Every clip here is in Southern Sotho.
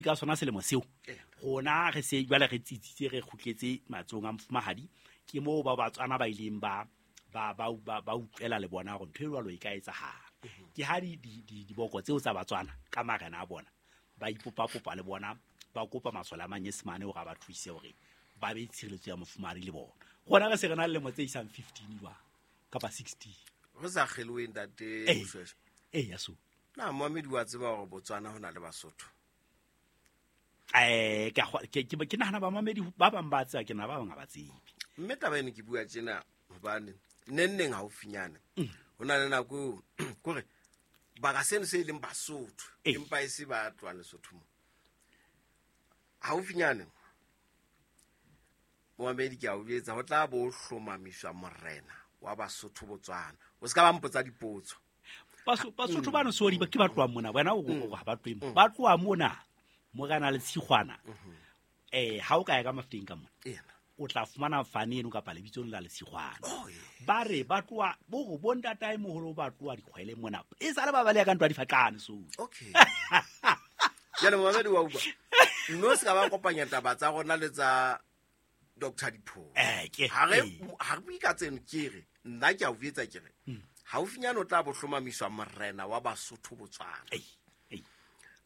Ka sona selemo seo rona re se jwale re tsitsitse, re kgutletse matsohong a mofumahadi. Ke moo ba Batswana ba ileng ba ba ba ba ba utlwela le bona hore ntho e jwalo e ka etsahala. Ke ha diboko tseo tsa Batswana ka marena a bona ba ipopapopa le bona, ba kopa masole a Manyesemane hore a ba thuse hore ba be tshireletso ya mofumahadi le bona. Rona re se re na le lemo tse isang 15 jwang kapa 16. Re sa kgelohe, ntate Moshweshwe. Ee, ya so. Na moamedi wa tseba hore Botswana ho na le Basotho? Ke nahana bamamedi ba bang ba tseba, ke nahana ba bang ha ba tsebe. Mme taba eno ke bua tjena hobane neng neng haufinyane ho na le nako eo kore baka seno se e leng Basotho, empa e se ba tlohang Lesotho mo. Haufinyane moamedi ke a o jwetsa, ho tla bo hlomamiswa morena wa Basotho Botswana. O se ka ba mpotsa dipotso. Basotho bano sori ba ke ba tloha mona, wena o ha ba tlohe mo. Ba tloha mona, morena le Tshikgwana. Ha o ka ya ka Mafeteng ka mona, o tla fumana fane eno kapa lebitso la Letshikgwana. Oh, yeah. Ba re ba tloha, bo re bo ntatae moholo ba tloha dikgwele mona. E sale ba baleha ka ntwa difaqane, so. Okay. Jwale momamedi wa utlwa. Mme o se ka ba kopanya taba tsa rona le tsa Doctor Dipholo. Ke, Ha re bue ka tseno, ke re, nna ke a o jwetsa ke re, haufinyane o tla bo hlomamiswa morena wa Basotho Botswana. Ei, ei.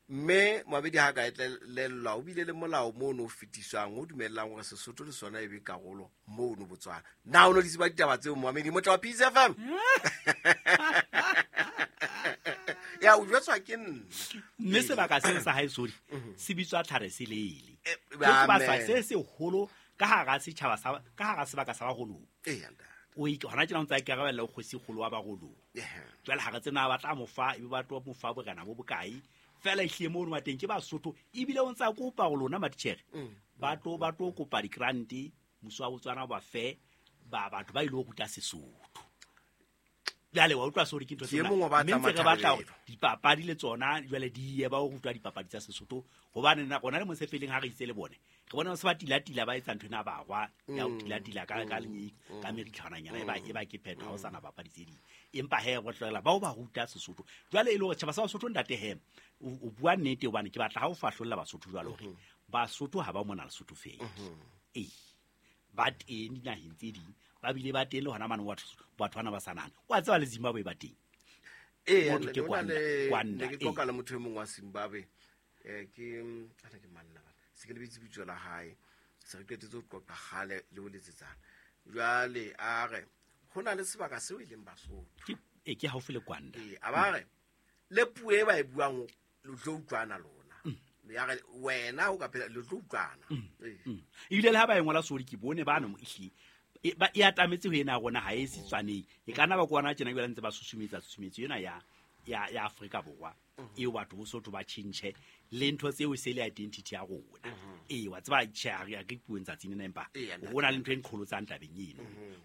Mme moabedi ha ka etlelellwa, o bile le molao mono o fetiswang o dumellang hore Sesotho le sona e be karolo mono Botswana. Na o no di tseba ditaba tseo, moamedi motla wa Peace FM? Ya, o jwetswa ke nna. Mme sebaka seo sa hae, sorry, se bitswa Tlhare Selele. Ke sebaka Amen. se seholo ka hara setjhaba sa, ka hara sebaka sa Barolong. Ee, ntate. O hona tjena o ntse a ikarabella ho kgosi kgolo wa Barolong. Jwale ha re tsena ba tla mo fa, ebe ba tlo mo fa borena bo bokae. Feela ehlile mono wa teng ke Basotho, ebile o ntse a kopa ho lona matitjhere. Ba tlo kopa di-grant, mmuso wa Botswana ba fe ba batho ba ilo ruta Sesotho. Jwale wa utlwa sori ke ntho Ke tsena. e mong wa ba Mme ntse re batla hore tlamathabelo. dipapadi le tsona jwale di ye ba o rutwa dipapadi tsa Sesotho, hobane nna rona le mosepeleng ha re itse le bone, re bona se ba tila-tila ba etsa ntho ena barwa ya ho tila-tila ka lenyei, ka meritlhwananyana, e ba ke phetho, ha ho sana papadi tse ding. Empa he, re tlohela bao ba ruta Sesotho. Jwale e le hore tjhaba sa Basotho, ntate he, o bua nnete, hobane ke batla ha o fahlolla Basotho jwalo hore Basotho ha ba mona Lesotho feela. Ee, ba teng dinaheng tse ding, ba bile ba teng le hona mane batho bana ba sa nahane. Wa tseba le Zimbabwe ba teng. Ee, Motho ke ne Kwanda, Kwanda, ne ke qoqa ee. le motho e mong wa Zimbabwe. Ke, ana ke mang nna bana? Se ke lebetse bitso la hae. Se re qetetse ho qoqa kgale le ho letsetsana. Jwale a re, ho na le sebaka seo e leng Basotho. Ke, ee, ke haufi le Kwanda. Ee, a ba re, le puo e ba e buang, le tlo utlwana lona. Ya re, wena o ka phela, le tlo utlwana. Ee. Ebile le ha ba e ngola sori, ke bone bano mo ehlile. E, ba, e atametse ho ena ya rona, ha e setswaneng. E ka nna ba kwana tjena jwale ntse ba susumetsa susumetso ena ya Afrika Borwa. Eo batho Bosotho ba tjhentjhe le ntho tseo e se le identity ya rona. Ee, wa tseba, tjhe, ha re, ha re puong tsatsing lena, empa Ee, ntate. ho na le ntho e nqholotsang tabeng eno.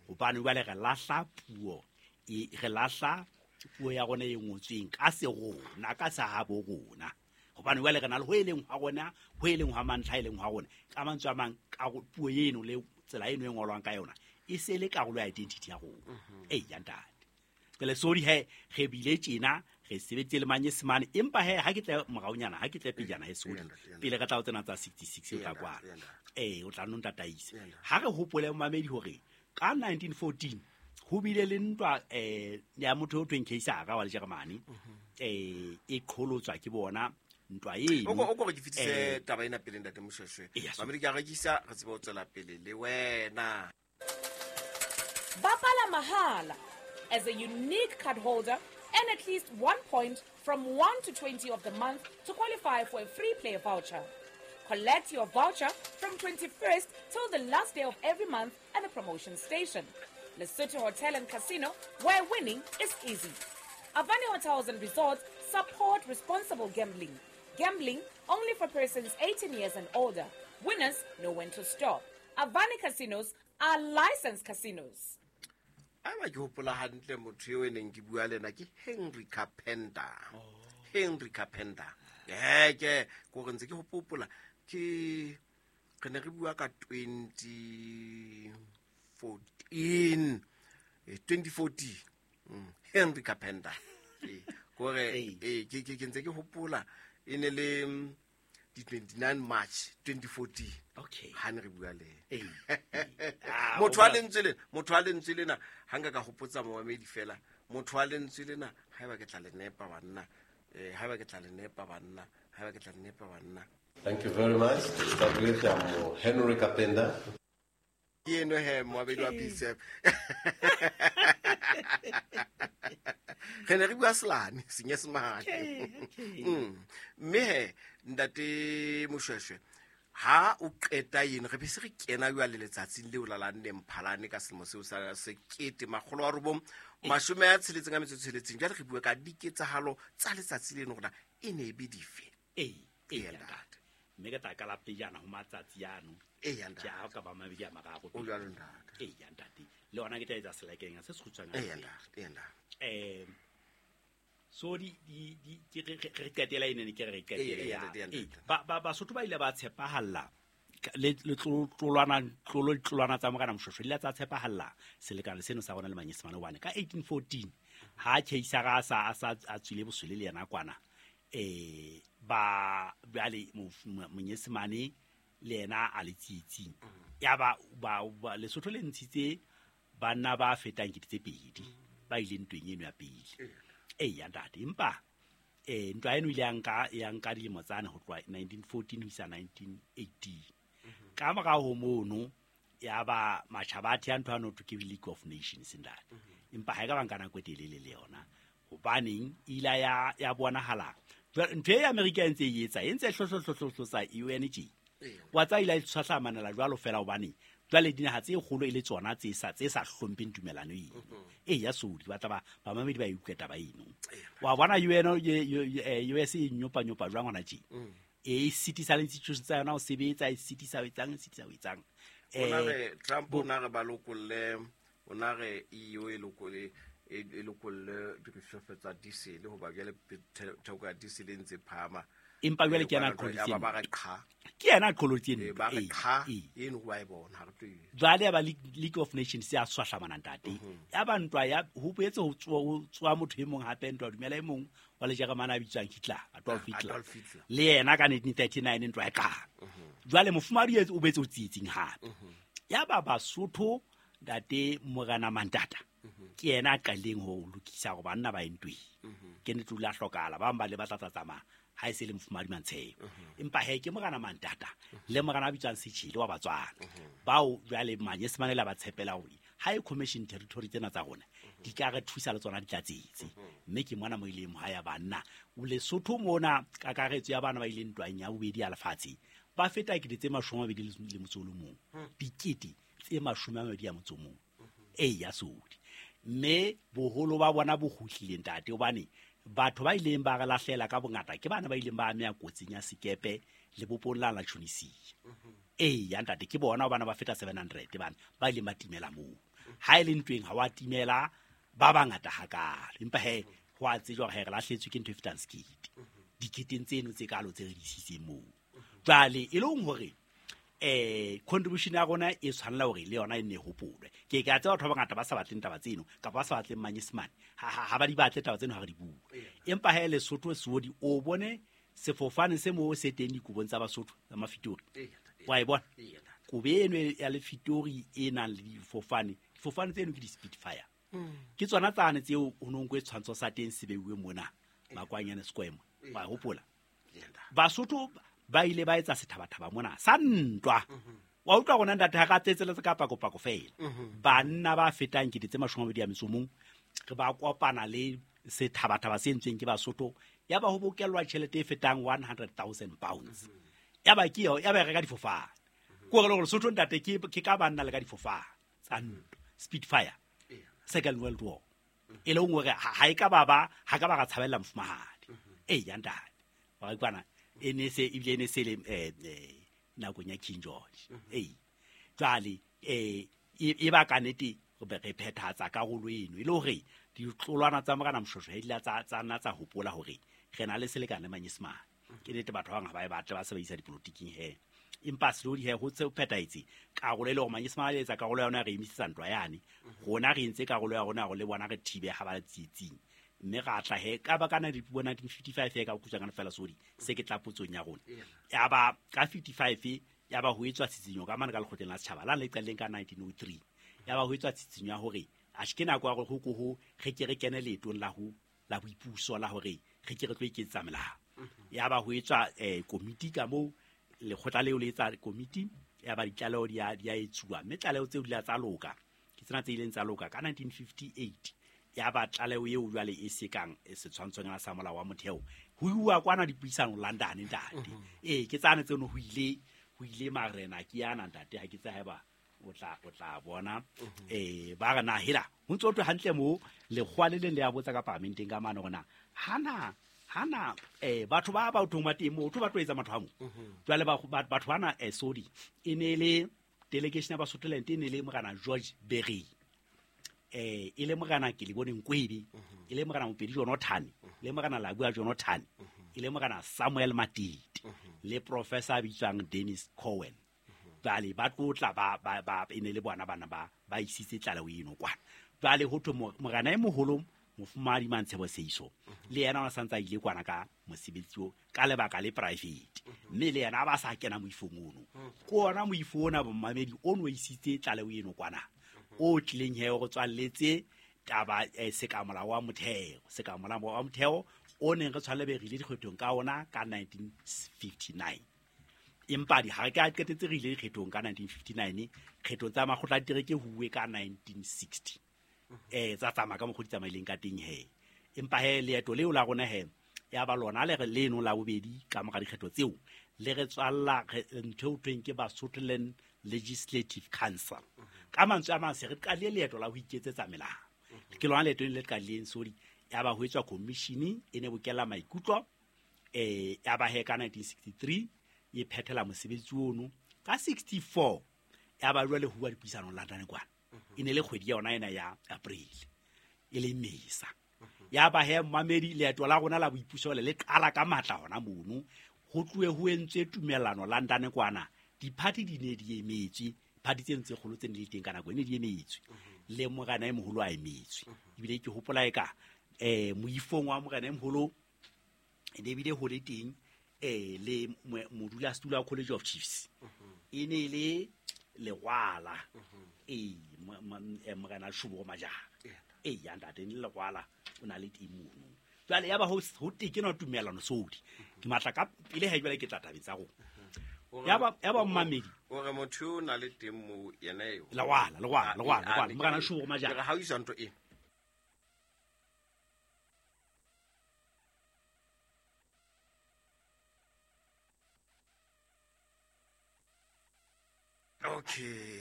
Hobane jwale re lahla puo, e, re lahla puo ya rona e ngotsweng ka se rona, ka sa habo rona. Hobane jwale re na le ho e leng hwa rona, ho e leng hwa mantlha, e leng hwa rona. Ka mantswe a mang, ka puo eno le tsela eno e ngolwang ka yona, e se le karolo ya identity ya rona. Ee, ya ntate. Jwale sorry he, re bile tjena, re sebeditse le Manyesemane, empa he, ha ke tle moraonyana, ha ke tle pejana he, sorry. Pele re tla ho tsena tsa 66, o tla kwala. Ee, o tla nno ntataise. Ha re hopole momamedi hore ka 1914 ho bile le ntwa, ya motho o thweng Keisara wa Lejeremane, e qholotswa ke bona ntwa eno. O ko re ke fetise taba ena pele, ntate Moshweshwe. Ee, ya, so. Mamedi, ke a rekisa, re tsebe ho tswela pele le wena. Bapala mahala as a unique card holder and at least 1 point from 1 to 20 of the month to qualify for a free play voucher. Collect your voucher from 21st till the last day of every month at the promotion station. Lesotho Hotel and Casino, where winning is easy. Avani Hotels and Resorts support responsible gambling. Gambling only for persons 18 years and older. Winners know when to stop. Avani Casinos are licensed casinos. A ba ke hopola hantle motho eo e neng ke bua le ena ke Henry Carpenter. Henry Carpenter. Ke ko re ntse ke hopola ke re ne re bua ka 2014. 2014. Henry Carpenter. Ko re, ke ntse ke hopola e ne le, di 29 March 2014. Okay. Ha ne re bua le Ee. motho wa lentswe lena, motho wa lentswe lena, ha nka ka hopotsa momamedi fela, motho wa lentswe lena, haeba ke tla le nepa banna, haeba ke tla le nepa banna, haeba ke tla le nepa banna. Thank you very much. To start with, I'm Henry Kapenda. Ke eno he, moabedi wa PCF. Re ne re bua Selane, Senyesemane. Okay. Mme he, ntate Moshweshwe, ha o qeta eno, re be se re kena jwale letsatsing leo la la nne Mphalane ka selemo seo sa 1966. Jwale re bua ka diketsahalo tsa letsatsi leno hore na e ne e be dife. Ee, ee, Eya, ntate. ntate. Mme ke tla qala pejana ho matsatsi ano. Eya, ntate. Ke ha o ka ba mabedi a mararo. O jwalo, ntate. Eya, ntate. Le hona ke tla etsa selekeng se sekgutshwanyane. Eya, ntate. Eya, ntate. So di di di ke re qetela ene ne ke re qetela Eya, ya. ntate, eya, Ee, ntate. ba Basotho ba ile ba tshepahalla le le tlolwana tlolo tlolwana tsa Morena Moshweshwe di ile tsa tshepahalla selekane seno sa rona le Manyesemane hobane ka 1814 ha Keisara a sa a sa a tswile boswele le yena kwana, ba jwale Monyesemane le yena a le tsietsing. Ya ba ba Lesotho le ntshitse banna ba fetang 2000 ba ile ntweng eno ya pele. Eya, ntate, empa ntwa eno ile ya nka dilemo tsane ho tloha 1914 ho isa 1918. Ka morao ho mono ya ba matjhaba a theha ntho ya no thwe ke League of Nations, ntate. Empa ha e ka ba nka nako e telele le yona, hobaneng e ile ya bonahala jwale ntho e Amerika e ntse e etsa, e ntse e hlohlohlohlohlosa UN tje. Wa tseba ile ya tshwahlamanela jwalo fela, hobane jwale dinaha tse kgolo e le tsona tse sa hlompheng tumelano eno. Eya, Sodi, ba tla ba bamamedi ba e utlwe taba eno. Wa bona UN, US e nyopa-nyopa jwang hona tje? E sitisa le institutions tsa yona ho sebetsa, e sitisa ho etsang, e sitisa ho etsang. O na re Trump o na re ba lokolle, o na re EU e lokolle, e lokolle dirisofe tsa diesel, hoba jwale theko ya diesel e ntse phahama. Empa jwale ke yena a Ba re qholotse ba eno. re qha. Ke yena a qholotse eno. Ba re Ee, qha, ee. eno wa e bona, ha re tlo e- Jwale ya ba League of Nations ya swahlamana, ntate. Ya ba ntwa ya ho boetse ho tsoha motho e mong hape, ntwa dumela e mong wa le Jeremane a bitswang Hitler, Adolf Hitler. Adolf Hitler. Le yena ka 1939 ntwa e qala. Jwale mofumahadi o boetse o tsietsing hape. Ya ba Basotho, ntate Morena Mantata, ke yena a qadileng ho lokisa hore banna ba ye ntweng. Ke nnete o ile a hlokahala, ba bang ba le ba tla tla tsamaya ha e se le mofumahadi Mantsheo. Empa he, ke Morena Mantata le morena a bitswang Setjhele wa Batswana, bao jwale Manyesemane le a ba tshepela hore ha e commission territory tsena tsa rona di ka re thusa le tsona di tlatsetse. Mme ke mona mo ileng ha ya banna Lesotho mona, kakaretso ya bana ba ileng ntwang ya bobedi ya lefatshe ba feta 21,000, 21,000. Eya, Sodi, mme boholo ba bona bo kgutlile, ntate, hobane batho ba ileng ba re lahlela ka bongata ke bana ba ileng ba ameha kotsing ya sekepe lebopong la la Tunisia. Eya, ntate, ke bona bana ba feta 700 bana ba ileng ba timela moo. Ha e le ntweng ha wa timela ba bangata hakalo, empa he ho a tsejwa hore he re lahletswe ke ntho e fetang sekete diketeng tseno tse kalo tse re di isitseng moo. Jwale e leng hore contribution ya rona e tshwanela hore le yona e nne e hopolwe. Ke a tseba batho ba bangata ba sa batleng taba tseno, kapa ba sa batleng Manyesemane, ha ba di batle taba tseno ha re di bua. Empa ha e Lesotho Sodi, o bone sefofane se moo se teng dikobong tsa Basotho tsa Mafitori. Wa e bona? Kobo eno ya Lefitori e nang le difofane, difofane tseno ke di-Spitfire. Ke tsona tsane tseo ho no nkuwe setshwantsho sa teng se beuwe mona Makwanyane Square mo. Wa hopola? Basotho ba ile ba etsa sethabathaba mona sa ntwa. Wa utlwa rona, ntate, ha ka tsetseletse ka pakopako fela. Banna ba fetang 21,000 re ba kopana le sethabathaba se entsweng ke Basotho, ya ba ho bokellwa tjhelete e fetang 100,000 pounds. Ya ba ke ya ba reka difofane. Ke hore le hore Lesotho, ntate, ke ka banna le ka difofane tsa ntwa, Spitfire, Second World War. E leng hore ha e ka ba ba ha ka ba ra tshabella mofumahadi. Eya, ntate. Wa kwana e ne se ebile e ne se le nakong ya King George. Ee. Jwale e ba ka nnete re be re phethahatsa karolo eno e le hore ditlolwana tsa Morena Moshweshwe di ile tsa nna tsa hopola hore re na le selekane le Manyesemane. Ke nnete batho ba bang ha ba e batle, ba sebedisa dipolotiking he. Empa slowly he ho tse ho phethahetse karolo e le hore Manyesemane a etsa karolo ya yona, re emisetsa ntwa yane. Rona re entse karolo ya rona hore le bona re thibe ha ba le tsietsing. Mme ra tla he ka ba ka 1955 he ka kutswa fela sodi se ke tla potsong ya rona. Ya ba ka 55 ya ba ho etswa tsitsinyo ka mane ka lekgotleng la setjhaba la le qadileng ka 1903. Ya ba ho etswa tsitsinyo ya hore a se ke nako ya hore ho ko ho re ke re kene leetong la ho la boipuso la hore re ke re tlo iketsetsa melao. Ya ba ho etswa komiti ka moo lekgotla leo le etsa komiti ya ba ditlaleho di a etsuwa, mme tlaleho tseo di la tsa loka ke tsena tse ileng tsa loka ka 1958. Ya ba tlaleho eo jwale e sekang setshwantshonyana sa molao wa motheo ho iwa kwana dipuisano London ntate. Ke tsane tseno ho ile marena ke yana ntate ha ke tsa haeba o tla bona ba re na hela ho ntso thwe hantle mo lekgwa le leng le ya botsa ka parlamenteng ka mane hore na hana batho ba ba thong ba teng mo ba tlo etsa matho a mo. Jwale batho bana sorry e ne le delegation ya Basotholand e ne le morena George Berry, e le morena Kelibone Nkwebe, e le morena Mopedi Jonathan, le morena Labua Jonathan, e le morena Samuel Matete le professor bitswang Dennis Cohen. Jwale ba tlotla ba e ne le bona bana ba isitse tlaleho eno kwana. Jwale ho thwe morena e moholo mofumahadi Mantshebo Seiso le yena o santse a ile kwana ka mosebetsi o ka lebaka le private, mme le yena a ba sa kena moifong ono. Ke ona moifo ona bommamedi o no isitse tlaleho eno kwana o tlileng he go tswalletse taba sekamolao wa motheo, sekamolao wa motheo o neng re tshwanele be re ile dikgethong ka ona ka 1959. Empa di ha re ka qetetse re ile dikgethong ka 1959, kgethong tsa makgotla a ditereke huwe ka 1960. Tsa tsamaya ka mokgwa di tsamaileng ka teng he. Empa he leeto leo la rona he ya ba lona le re leno la bobedi ka mora dikgetho tseo le re tswalla ntho eo thweng ke Basotholand Legislative Council. Ka mantswe a mang se re qadile leeto la ho iketsetsa melao. Ke lona leeto le qadileng sodi ya ba ho etswa commission e ne bokella maikutlo ya ba he ka 1963 e phethela mosebetsi ono. Ka 64 ya ba jwale ho bua dipuisano London kwana. E ne le kgwedi ya yona ena ya April e le Mesa. Ya ba he mamedi leeto la rona la boipuso le qala ka matla hona mono. Ho tlohe ho entswe tumellano London kwana, diphathi di ne di emetswe, party tse ntse kgolo tse ne di teng ka nako e ne di emetswe, le morena e moholo a emetswe. Ebile ke hopola e ka moifong wa morena e moholo e ne ebile ho le teng le modulasetulo wa College of Chiefs e ne le Legwala, morena Shubo Majara ya ntate ne Legwala o na le teng mono. Jwale ya ba ho tekena tumellano sodi ke matla ka pele ha jwale ke tla tabeng tsa rona. Ya ba mmamedi o re motho o na le teng mo yena eo Legwala morena Shubo Majara ha o isa ntho e okay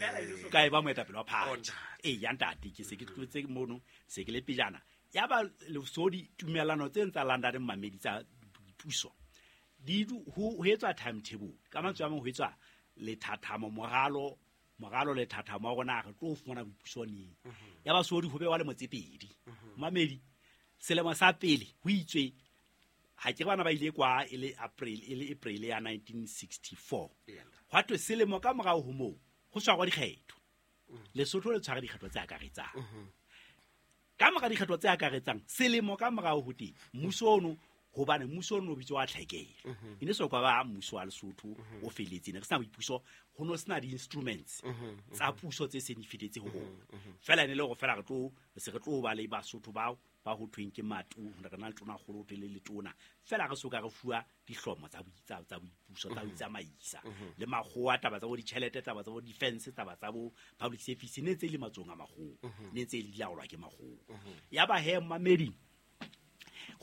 ka e ba moetapele wa party ya ntate ke se ke tlotse mono se ke le pejana. Ya ba lesodi tumellano tse ntsa London mamedi tsa puso di ho etswa timetable ka mantswe a mang ho etswa lethathamo moralo lethathamo wa rona re tlo fumana boipuso neng. Ya ba sodi ho bewa le motsepedi mamedi selemo sa pele ho itswe ha ke bana ba ile kwa e le April ya 1964 hwa thwe selemo ka morao ho moo ho tshwarwa dikgetho. Lesotho le tshwara dikgetho tse akaretsang. Ka mora dikgetho tse akaretsang selemo ka morao ho teng mmuso ono hobane mmuso ono o bitswa tlhekelo e ne so kwa ba mmuso wa Lesotho o feletse ne re sena boipuso ho no sena di-instruments tsa puso tse seng di fetetse ho rona. Fela ne le hore fela re tlo se re tlo ba le Basotho bao ba ho thweng ke matu re na le tona kgolo le le tona fela re soka re fuwa dihlomo tsa boipuso tsa ho tsamaisa le makgowa taba tsa bo ditjhelete taba tsa bo defense taba tsa bo public service ne tse le matsong a makgowa ne tse le laolwa ke makgowa. Ya ba he mamedi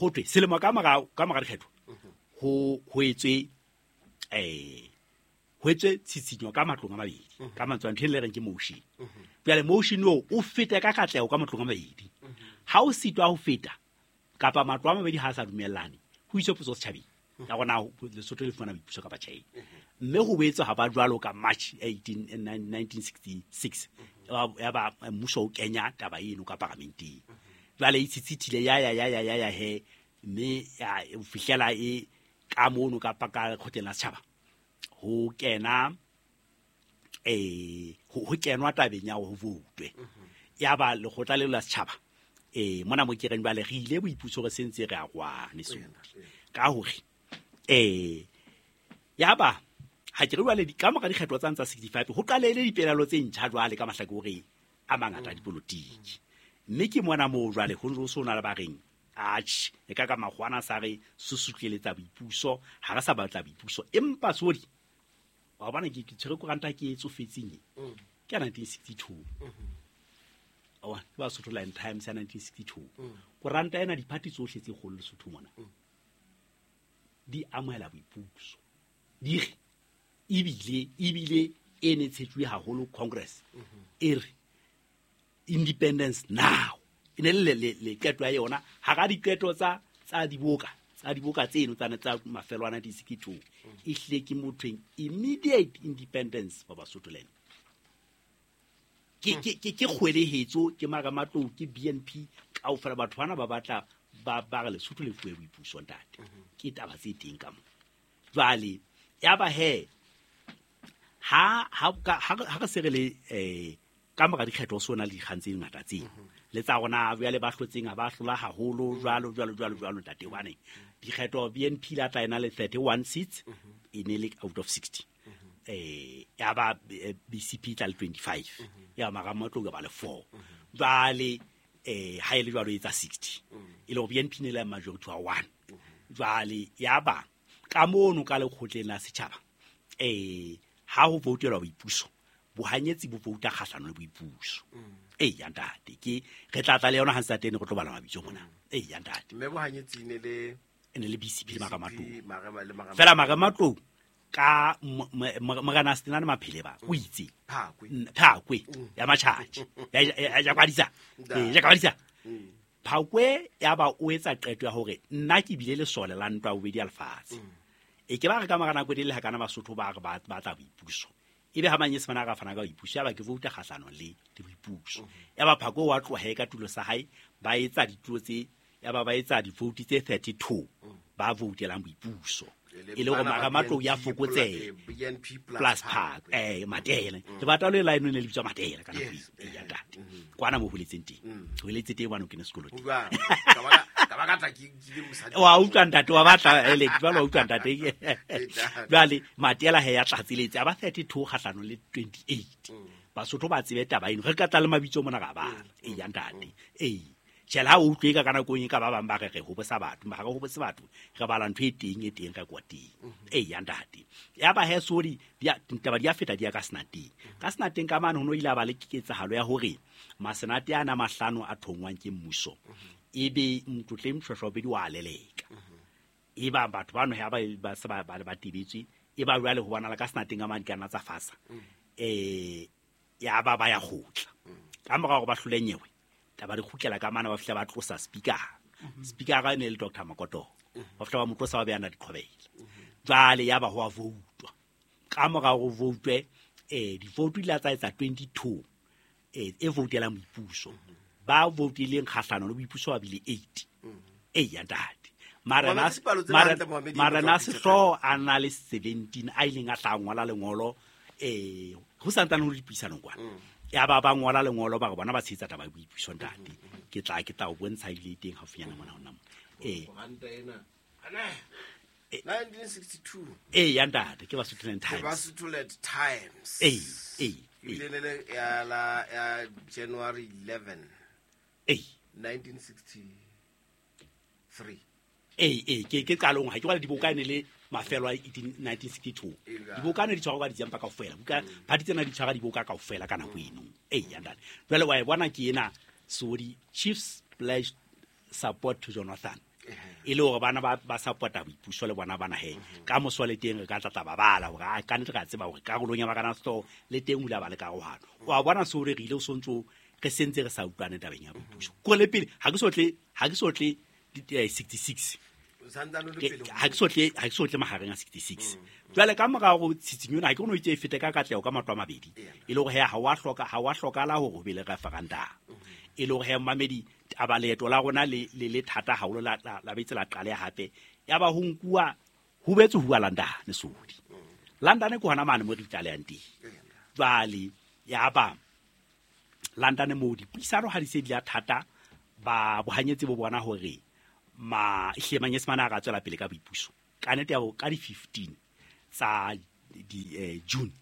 ho thwe selemo ka mora dikgetho ho etswe ho etswe tshitshinyo ka matlong a mabedi ka mantswe a ntho e le reng ke motion. Jwale motion o fete ka katleho ka matlong a mabedi. Ha o sitwa ho feta kapa matlo a mabedi ha a sa dumellane ho iswe potso setjhabeng ya rona Lesotho le fumana boipuso kapa tjhe. Mme ho boetse ha ba jwalo ka March 18 1966 ya ba mmuso o kenya taba eno ka paramenteng. Jwale e tshitsithile ya he mme ya fihlela e ka mono kapa ka lekgotleng la setjhaba ho kena ho kenwa tabeng ya ho voutwe. Ya ba lekgotla leo la setjhaba Mona mo ke reng jwale re ile boipuso re sentse re a rwane sodi ka hore yaba ha ke re jwale ka mora dikgetho tsa ntsa 65 ho qalele dipelaelo tse ntjha jwale ka mahlakoreng a mangata a dipolotiki. Mme ke mona moo jwale ho ntse ho na le ba reng atjhe e ka ka makgwana sa re susutleletsa boipuso ha re sa batla boipuso empa sodi wa bona ke tshwere koranta ke e tsofetseng ke ya 1962. Awa ke ba Sotho Line Times ya 1962. Koranta ena diphathi tsohle tse kgolo Lesotho mona di amohela boipuso di re ebile e ne tshetsuwe haholo Congress e re independence now e ne le qeto ya yona hara diqeto tsa diboka tseno tsa mafelo a 1962 e hlile ke mothweng immediate independence for Basotholand. Ke kgwelehetso ke Marematlou ke BNP kaofela batho bana ba batla ba re Lesotho le fuwe boipuso ntate. Ke taba tse teng ka mo jwale ya ba he ha re se re le ka mora dikgetho so na le dikgang tse ngata tse le tsa rona jwale ba hlotseng ha ba hlola haholo jwalo jwalo jwalo jwalo ntate hobane dikgetho BNP la tla ena le 31 seats e ne le out of 60. Ya ba BCP tla le 25 ya Marematlou ba le 4 jwale ha ile jwalo etsa 60 e le BNP ne le majority wa 1 jwale ya ba ka mono ka lekgotleng la setjhaba ha ho voutelwa boipuso bohanyetsi bo vouta kgahlano le boipuso. Ya ntate ke re tla tla le yona ha ntse teng re tlo bala mabitso mona. Ya ntate mme bohanyetsi ne le BCP le Marematlou fela Marematlou ka morena Stenane Maphele ba o itse Phakwe ya matjhatjhe ya kwadisa ya kwadisa Phakwe ya ba o etsa qeto ya hore nna ke bile lesole la ntwa bobedi ya lefatshe. E ke ba re ka mora nako e le ha kana Basotho ba re ba batla boipuso ebe ha manyesemane a ka fana ka boipuso ya ba ke vouta kgahlano le boipuso. Ya ba Phakwe wa tloha ka tulo sa hae ba etsa ditulo tse ya ba ba etsa divote tse 32 ba voutelang boipuso e le hore Marematlou ya fokotsehe BNP plus Phakwe Matele le batla le line ne le bitswa Matele ka nako e ya ntate kwana mo holetseng teng holetse teng bana o kene sekolo teng wa utlwa ntate wa batla ele jwale wa utlwa ntate jwale Matela he ya tlatseletse a ba 32 kgahlano le 28 Basotho ba tsebe taba eno re ka tla le mabitso mona ga bala ya ntate tjhela ha o utlwe ka nako e ka ba bang ba re re hobosa batho ba re hobose batho re bala ntho e teng re kwa teng ya ntate ya ba he sori ditaba di a feta di ya ka senateng ka senateng ka mane ho no ile ba le ketsahalo ya hore masenate ana mahlano a thongwang ke mmuso ebe Mtlotleng Moshoeshoe wa leleka e ba batho bano ha ba se ba tebetswe e ba jwale ho bona la ka senateng ka mane kana tsa fasa ya ba ba ya kgotla ka mora hore ba hlole nyewe taba re kgutlela ka mana ba fihla ba tlosa speaker speaker ga ne le Dr. Makoto ba fihla ba mo tlosa ba beana diqhobela jwale ya ba ho a voutwa ka mora ho voutwe divote di la tsa etsa 22 e voutelang boipuso ba voutileng kgahlano le boipuso ba bile 8 ya ntate marena sehlooho a na le 17 a ileng a tla ngola lengolo ho santsane ho dipuisanong kwana ya ba ba ngola lengolo ba re bona ba tshehetsa taba ya boipuso ntate ke tla o bontsha ile teng haufinyana mona hona mo koranta ena 1962 ya ntate ke Basotho Times ke Basotho Times ile le ya la ya January 11 1963 ke qalong ha ke bala diboka ne le mafelo a 1962 diboka ne di tshwarwa ka December kaofela buka party tsena di tshwara diboka kaofela ka nako eno ya ntate jwale wa e bona ke ena sori chiefs pledged support to Jonathan e le hore bana ba supporta boipuso le bona bana he ka moso le teng re ka tla ba bala hore a ka ntle ka tseba hore karolong ya bakana sto le teng hula ba le karohano wa bona sori re ile o sontso re sentse re sa utlwane tabeng ya boipuso ko le pele ha ke sotle 66 ha ke sotle mahareng a 66 jwale ka mora ho tsitsinyo ha ke no itse e fete ka katleho ka matlo a mabedi e le hore ha wa hloka la hore ho be le referendum e le hore mamedi taba leeto la rona le le thata haholo la betse la qale hape ya ba ho nkuwa ho betse huwa London sodi London ke hona mane mo re tlalehang teng jwale ya ba London mo dipuisano ha di se di a thata Ba bohanyetsi bo bona hore ma ehlile Manyesemane a ka tswela pele ka boipuso. Ka nnete ya ka di 15 tsa di June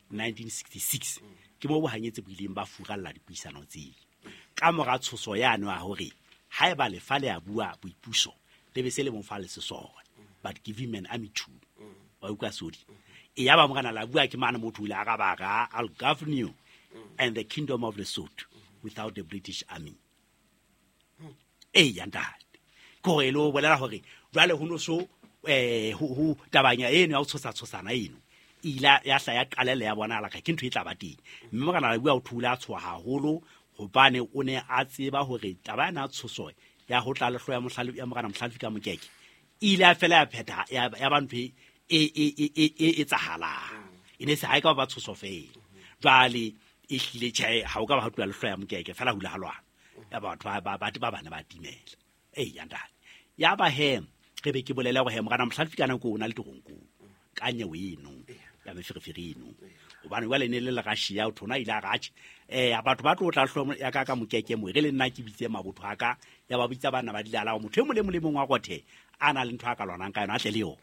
1966 ke mo bohanyetsi bo ileng ba furalla dipuisano tseo. Ka mora tshoso yano ya hore haeba lefa le a bua boipuso le be se le mo fa le sesole, but give him an army too. Wa utlwa sodi. E ya ba morena la bua ke mane motho o ile a ka ba ra, I'll govern you and the kingdom of Lesotho without the British army. E ya ntate. Ke hore e le ho bolela hore jwale ho no so ho tabanya eno ya ho tshosa tshosana eno e ile ya hla ya qalella ya bonahala ka ke ntho e tla ba teng. Mme morena la bua o thula a tshoha haholo hobane o ne a tseba hore taba ena ya tshoso ya ho tla lehloya mohlale ya morena Mohlalefi ka mokeke e ile ya fela ya phetha ya ba ntho e etsahalang. E ne se ha e ka ba tshoso fela. Jwale e hlile tjhe ha o ka ba ha tloha lehloya mokeke fela hula ha lwana. Ya batho ba bana ba timela. E ya ntate. Ya ba he re be ke bolela hore he morena Mohlalefi ka nako o na le teronkong ka nyewe eno ya meferefere eno. Hobane jwale ne le le Russia o thona ile a ratjhe. Batho ba tlo tla hlomo ya ka ka mokeke mo re le nna ke bitse mabotho a ka ya ba bitsa bana ba dilala ho motho e mong le mong le mong wa rothe a na le ntho a ka lwanang ka yona a tle le yona.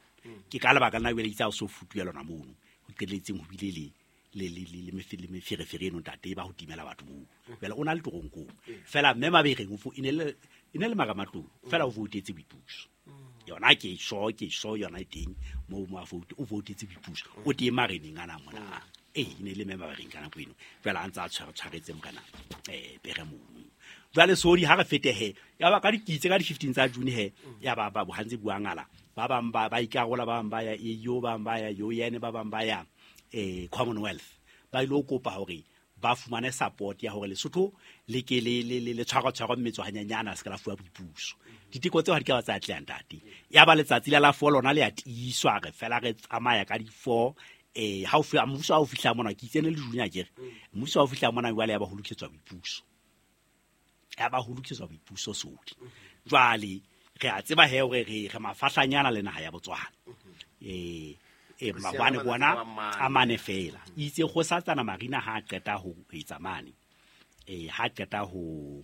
Ke ka lebaka lena jwale itse ha o so futuwe lona mono ho qetelletseng ho bile le le meferefere eno ntate ba ho timela batho moo. Jwale o na le teronkong. Fela mme Mabereng o e ne le maramatlou fela o voutetse boipuso. Yona ke so yona e teng mo mo a vote o voutetse boipuso. O teng mareneng ana mona. E ne le mme Mabereng ka nako eno. Jwale a ntse a tshwaretse morena pere mono. Jwale sodi ha re fete he ya ba ka dikitse ka di 15 tsa June he ya ba ba bohantse buangala ba bang ba ikarola ba bang ba ya EU ba bang ba ya UN ba bang ba ya Commonwealth ba ile ho kopa hore ba fumane support ya hore Lesotho le ke le tshwara mmetso hanyanyana se ka la fuwa boipuso. Diteko tseo ha di ka ba tsa atleha ntate. Ya ba letsatsi la 4 lona le a tiiswa re fela re tsamaya ka di 4 ha o fihla mmuso ha o fihla mona ke itsene le Junior akere. Mmuso ha o fihla mona jwale ya ba ho lokisetswa boipuso. Ya ba ho lokisetswa boipuso sodi. Jwale re a tseba he hore re mafahlanyana le naha ya Botswana. Mabane bona a mane fela. Itse go satsana Marina ha qeta ho etsa mane. Ha qeta ho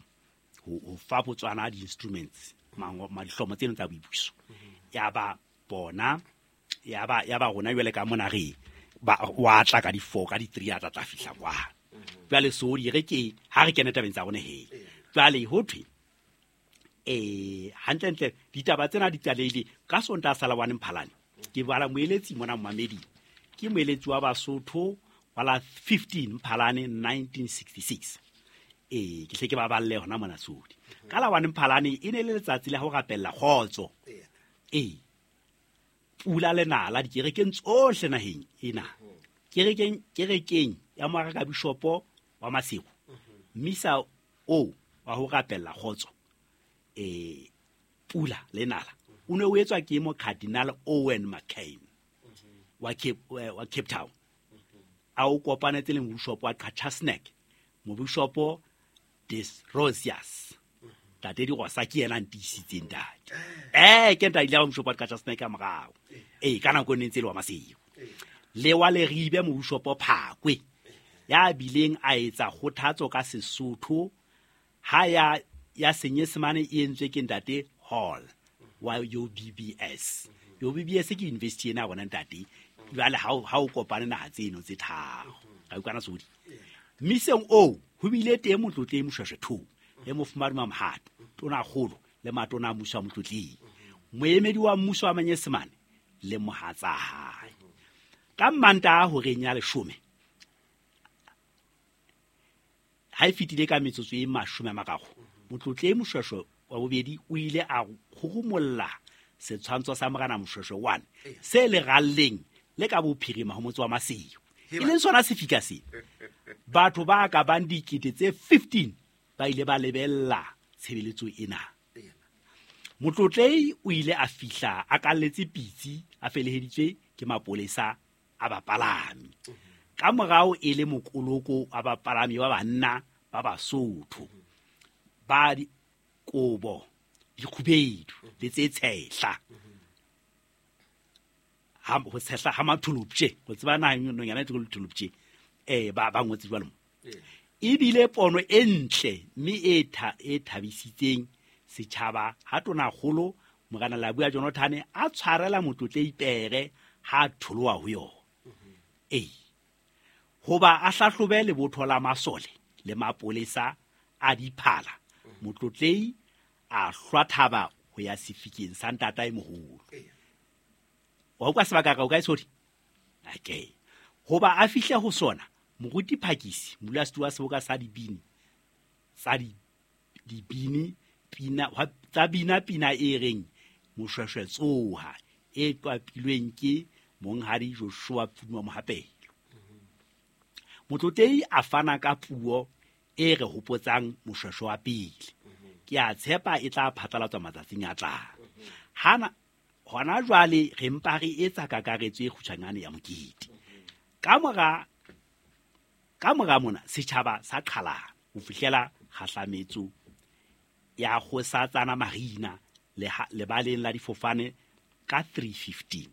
fa Botswana di-instruments dihlomo tseno tsa boipuso. Ya ba bona ya ba rona jwale ka mona re ba wa tla ka di 4 ka di 3 a tla fihla kwa. Jwale so di re ke ha re kene tabeng tsa rona he. Jwale ho thwe hantlentle ditaba tsena di qalehile ka Sontaha sa la 1 Mphalane. Ke bala moeletsi mona Mmamedi. Ke moeletsi wa Basotho wa la 15 Mphalane 1966. Ke hle ke ba balle hona mona sodi. Ka la 1 Mphalane e ne le letsatsi la ho rapella kgotso. Pula le nala dikerekeng tsohle naheng ena. Kerekeng ya Moraka Bishopo wa Maseru. Misa o wa ho rapella kgotso. Pula le nala. O ne o etswa ke mo Cardinal Owen McCain wa Cape Town. A o kopanetse le mobishopo wa Qachatsnek, mobishopo Des Rosiers. Ntate Dirosa ke yena a ntiisitseng ntate. Ke ntate ile wa mobishopo wa Qachatsnek ka morao. Ka nako e ne ntse le wa Maseru. Le wa Leribe mobishopo Phakwe ya bileng a etsa kgothatso ka Sesotho ha ya Senyesemane e entswe ke ntate Hall wa UBBS. UBBS ke university ena bona ntate. Jwale ha o kopane naha tseno tse tharo. Ka utlwana sodi. Mmiseng oo ho bile teng motlotleng Moshweshwe 2 le mofumahadi Mamohato, tona kgolo le matona a mmuso wa motlotleng. Moemedi wa mmuso wa Manyesemane le mohatsa hae. Ka Mantaha horeng ya 10 ha e fetile ka metsotso e 30 motlotleng Moshweshwe wa bobedi o ile a kgurumolla setshwantsho sa morena Moshweshwe 1 se leralleng le ka bophirima ho motse wa Maseru. E leng sona sefika sena. Batho ba ka bang dikete tse 15 ba ile ba lebella tshebeletso ena. Motlotlei o ile a fihla a kalletse pitsi a feleheditswe ke mapolesa a bapalami. Ka morao e le mokoloko wa bapalami ba banna ba Basotho ba kobo dikgubedu le tse tshehla. Ha ho tshehla ha matholopje go tseba na nonyana e tlo tholopje ba ngotse jwalo mo. Ebile pono e ntle mme e thabisitseng setjhaba ha tonakgolo Morena Labua Jonathan a tshwarela Motlotlei pere ha tholoha ho yona. Ee. Hoba a hlahlobe lebotho la masole le mapolesa a diphala, Motlotlei a hlwa thaba ho ya sefikeng sa ntatae moholo. Wa utlwa sebaka ka o kae sodi? Okay. Hoba a fihle ho sona, Moruti Phakisi, modulasetulo wa seboka sa dibini tsa dibini pina tsa bina pina e reng Moshweshwe tsoha, e qapilweng ke monghadi Joshua Pfuma Mohapelo. Motlotlei a fana ka puo e re hopotsang Moshweshwe wa pele. Ke a tshepa e tla phatlalatswa matsatsing a tlang. Hana hona jwale re mpa re etsa kakaretso e kgutshwanyane ya mokete. Ka mora mona setjhaba sa qhalana ho fihlela kgahlametso ya Kgosatsana Marina lebaleng la difofane ka 3:15.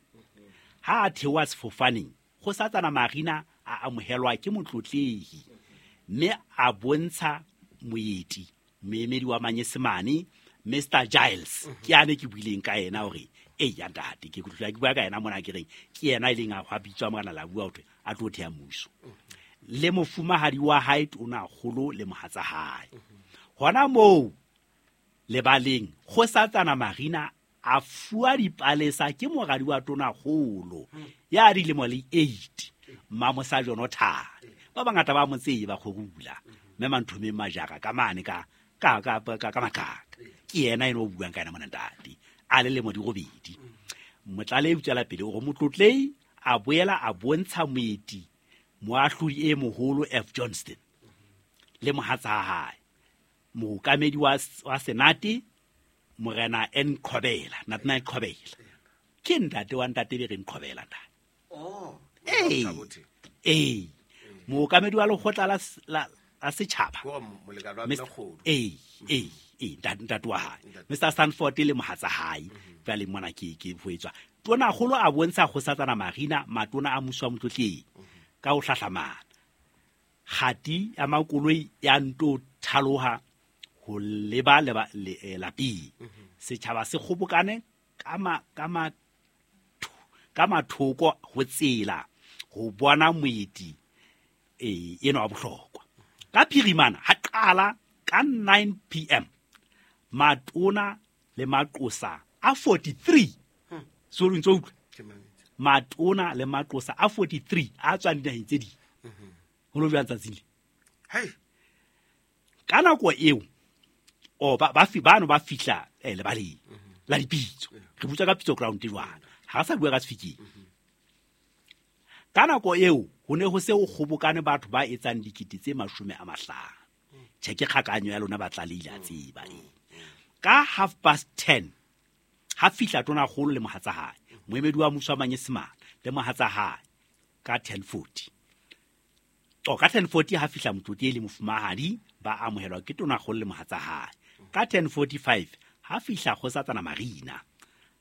Ha a theoha sefofaneng, Kgosatsana Marina a amohelwa ke Motlotlehi mme a bontsha moeti, moemedi wa Manyesemane, Mr. Giles. Ke ane ke buileng ka yena hore e ya ntate, ke kutlwa ke bua ka yena mona ke reng ke yena e leng a hwa bitswa Morena Labua hore a tlo thea mmuso. Le mofumahadi wa hae tonakgolo le mohatsa hae. Hona moo lebaleng Kgosatsana Marina a fuwa dipalesa ke moradi wa tonakgolo ya dilemo le 8, Mamosa Jonathan. Ba bangata ba mo tseba kgorula mme Manthomeng Majara ka mane ka makaka. Ke yena eno o buang ka yena mona ntate, a le lemo di robedi. Motlalehi o tswela pele hore Motlotlei a boela a bontsha moeti moahlodi e moholo F Johnston le mohatsa hae, mookamedi wa Senate Morena N Qhobela, Nathaniel Qhobela. Ke ntate wa ntate be reng Qhobela ntate. Oh. Ee. Mookamedi wa lekgotla la setjhaba. Ee, ntate wa hae. Mr. Stanford le mohatsa hae. Jwale mona ke ho etswa. Tonakgolo a bontsha Kgosatsana Marina matona a mmuso wa Motlotlei ka ho hlahlamana. Kgati ya makoloi ya nto thaloha ho leba lapeng. Setjhaba se kgobokane ka mathoko ho tsela ho bona moeti eno wa bohlokwa. Ka phirimana ha qala ka 9 p.m. matona le maqosa a 43. So ntso utlwa. Matona le maqosa a 43 a tswang dinaheng tse ding. Ho lo jwang tsatsing le. Hey. Ka nako eo o ba bano ba fihla lebaleng la dipitso. Re butsa ka pitso ground jwang. Ha sa bua ka sefikeng. Ka nako eo ho ne ho se o kgobokane batho ba etsang dikete tse 50. Tjhe ke kgakanyo ya lona ba tlalehile a tseba. Ka 10:30 ha fihla tonakgolo le mohatsa hae, moemedi wa mmuso wa Manyesemane le mohatsa hae ka 10:40. Ka 10:40 ha fihla Motlotlei le mofumahadi ba amohelwa ke tonakgolo le mohatsa hae. Ka 10:45 ha fihla Kgosatsana Marina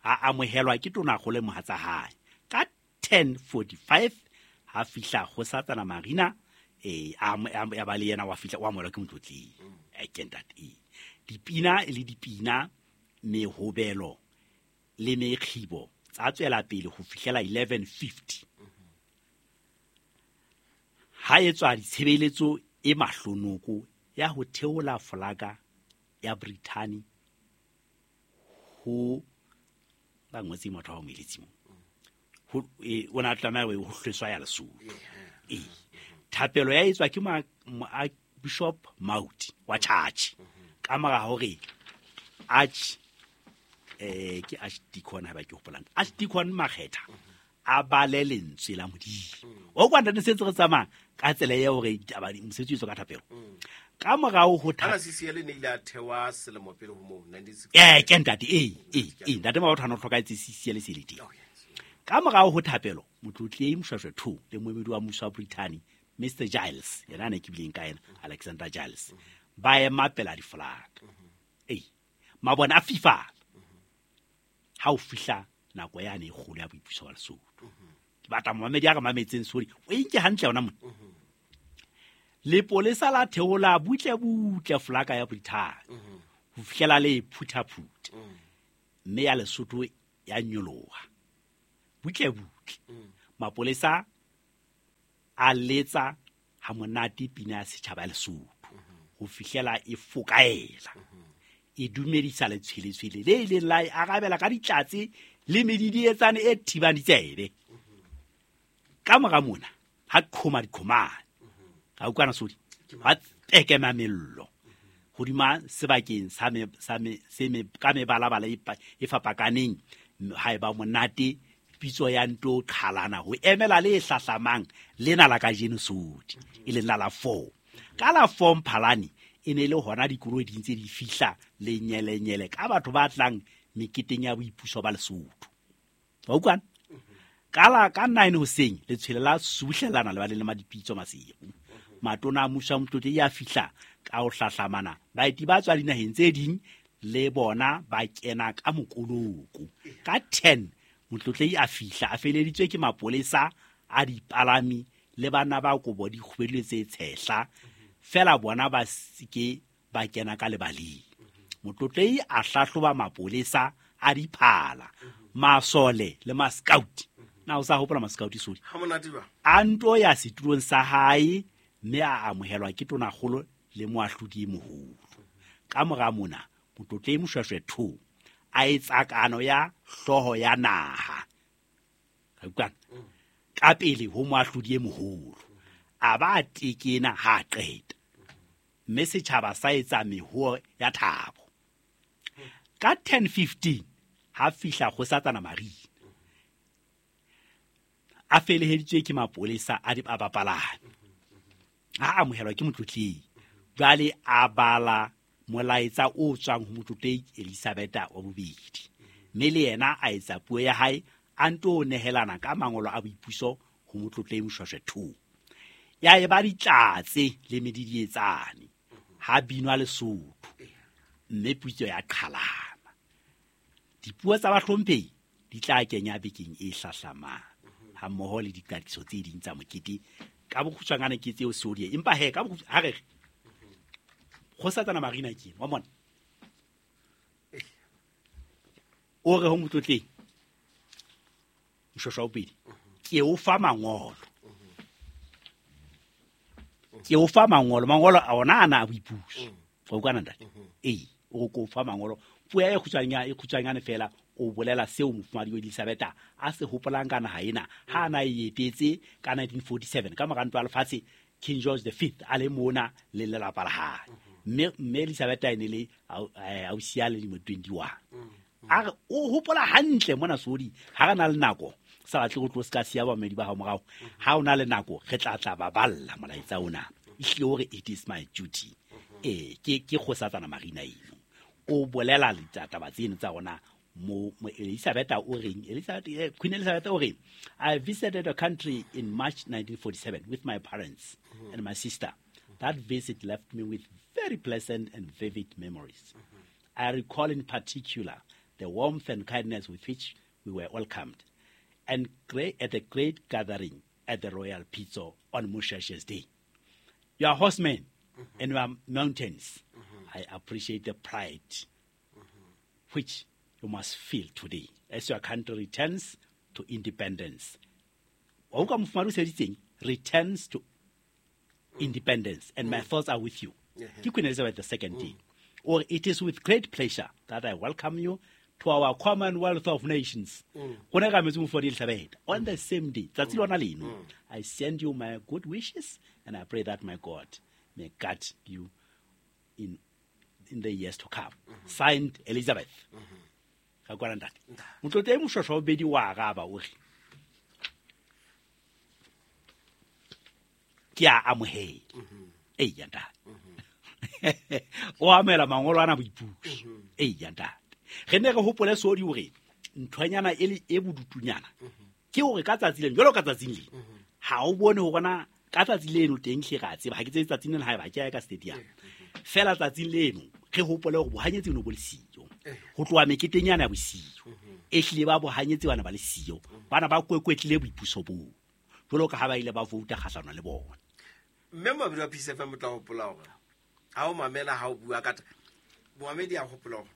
a amohelwa ke tonakgolo le mohatsa hae. Ka 10:45 ha fihla Kgosatsana Marina a ba le yena wa fihla wa amohelwa ke Motlotlei. Ke ntate. Dipina le dipina, mehobelo le mekgibo tsa tswela pele ho fihlela 11:50. Ha etswa ditshebeletso e mahlonoko ya ho theola folaka ya Brithani ho ba ngotse motho wa moeletsi mo. Ho o na tlameha ho hlweswa ya Lesotho. Thapelo ya etswa ke Bishop Mauti wa church. Ka mora hore arch ke archdeacon ha ba ke hopolang. Archdeacon Makgetha a bale lentswe la Modimo. O kwa ntate sentse re tsamaya ka tsela ya hore mosebetsi o etswa ka thapelo. Ka morao ho thapelo. CCL ne ile a thewa selemo pele ho moo 1960. Ke ntate ntate Mabotho a no hlokaetse CCL se le teng. Ka morao ho thapelo Motlotlei Moshweshwe II le moemedi wa mmuso wa Brithani Mr. Giles, yena ne ke bileng ka yena Alexander Giles, ba ema pela difolaka. Mabone a fifala. Ha o fihla nako yane e kgolo ya boipuso wa Lesotho. Ke batla momamedi a re mametseng sori, o e nke hantle yona mona. Lepolesa la theola butle-butle folaka ya Brithani ho fihlela le e phuthaphutha, mme ya Lesotho ya nyoloha butle-butle. Mapolesa a letsa ha monate pina ya setjhaba ya Lesotho ho fihlela e fokaela, e dumedisa letshweletshwele le ileng la e arabela ka ditlatse le medidietsane e thibang ditsebe. Ka mora mona ha qhoma diqhomane, ga utlwana sodi, ba tekema mello hodima sebakeng sa me, sa me, se me, ka mebalabala e fapakaneng. Ha e ba monate pitso ya nto qhalana ho emela le hlahlamang lena la kajeno sodi, e leng la la 4. Ka la 4 Mphalane e ne le hona dikoloi di ntse di fihla lenyelenyele ka batho ba tlang meketeng ya boipuso ba Lesotho. Wa utlwana? Ka la ka 9 hoseng letshwele la subuhlellana lebaleng la Madipitso Maseru. Matona a mmuso wa Motlotlehi a fihla ka ho hlahlamana, baeti ba tswa dinaheng tse ding le bona ba kena ka mokoloko. Ka 10 Motlotlehi a fihla a feleditswe ke mapolesa a dipalami le banna ba kobo di kgubedile tse tshehla, fela bona ba seke ba kena ka lebaleng. Motlotlehi a hlahloba mapolesa a diphala, masole le ma-scout. Na o sa hopola ma-scout sodi? Ha monate jwang? A nto ya setulong sa hae mme a amohelwa ke tonakgolo le moahlodi e moholo. Ka mora mona, Motlotlehi Moshoeshoe II a etsa kano ya hlooho ya naha. Ka utlwana? Ka pele ho moahlodi e moholo. A ba a tekena ha a qeta. Mme setjhaba sa etsa mehoo ya thabo. Ka 10:15 ha fihla kgosatsana Marina. A feleheditswe ke mapolesa a a bapalami. Ha amohelwa ke Motlotlehi. Jwale a bala molaetsa o tswang ho Motlotlehi Elizabeth wa bobedi. Mme le yena a etsa puo ya hae a nto nehelana ka mangolo a boipuso ho Motlotlehi Moshoeshoe II. Ya eba ditlatse le medidietsane ha binwa Lesotho, mme pitso ya qhalana. Dipuo tsa bahlomphehi di tla kenya bekeng e hlahlamang ha mmoho le diqatiso tse ding tsa mokete. Ka bokgutshwanyane ke tseo seodie, empa he ka ha re re kgosatsana Marina ke wa mona o re ho Motlotlehi Moshoeshoe wa bobedi, ke o fa mangolo, ke o fa mangolo, mangolo a ona ana a boipuso. Wa utlwana ntate? Ee, o re ke o fa mangolo. Puo ya e kgutshwanyane, e kgutshwanyane fela, o bolela seo mofumahadi wa Elizabeth a se hopolang ka naha ena ha a na e etetse ka 1947 ka mora ntwa ya lefatshe, King George the Fifth a le mona le lelapa la hae. Mme Elizabeth e ne le ausi ya le dilemo 21. A re o hopola hantle mona Sodi, ha re na le nako, sa batle go tlo se ka siya bamedi ba hao morao. Ha o na le nako, re tla tla ba balla molaetsa ona. Ehlile o re it is my duty. Ke kgosatsana Marina eno. O bolela ditaba tseno tsa rona mo Elizabeth o reng? Elizabeth, Queen Elizabeth o reng? I visited the country in March 1947 with my parents and my sister. That visit left me with very pleasant and vivid memories. I recall in particular the warmth and kindness with which we were welcomed and at a great gathering at the Royal Pitso on Moshoeshoe's Day. You are horsemen and you are mountains. I appreciate the pride which you must feel today as your country returns to independence. Wa utlwa mofumahadi o sebeditseng? Returns to independence, and my thoughts are with you. Ke Queen Elizabeth the Second day. Or it is with great pleasure that I welcome you to our Commonwealth of Nations. Go ne ga metse mofumahadi Elizabeth. On the same day, tsatsi lona leno, I send you my good wishes and I pray that my God may guide you in the years to come. Signed, Elizabeth. Ga kwana ntate. Motlotlehi Moshoeshoe wa bobedi wa araba o re, ke a amohela. Eya ntate. O amohela mangolo ana boipuso. Eya ntate. Re ne re hopole Sodi hore nthwanyana e le e bodutunyana ke hore ka tsatsi leno, jwalo ka tsatsing leno, ha o bone hore na ka tsatsi leno teng hle re a tseba, ha ke tsebe tsatsing leno haeba ke ya ka stadium. Fela tsatsing leno re hopole hore bohanyetsi bo ne bo le siyo. Ho tloha meketeng yana ya bosiu, ehlile ba bohanyetsi bana ba le siyo, bana ba kwekwetlile boipuso boo, jwalo ka ha ba ile ba vouta kgahlano le bona. Mme mabedi wa Peace FM o tla hopola hore ha o mamela ha o bua ka momamedi a hopola hore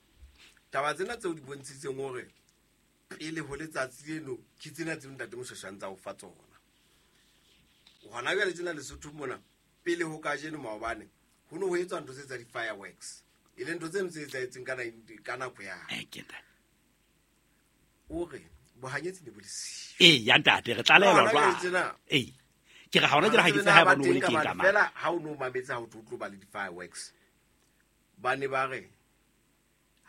taba tsena tseo di bontshitseng hore pele ho letsatsi leno ke tsena tseo ntate Moshweshwe a ntsa o fa tsona. Hona jwale tsena Lesotho mona pele ho kajeno maobane ho ne ho etswa ntho tse tsa di-fireworks, e leng ntho tseno tse etsahetseng ka nako ya Ke ntate. O re bohanyetsi ne bo le siyo. Ee, ya ntate, re tlalelwa Hona jwale jwale. tsena Ee. Ke re ha hona jwale ha ke tsebe ha eba no le teng ka mane. Fela ha o no mametse ha o tlo ba le di-fireworks, ba ne ba re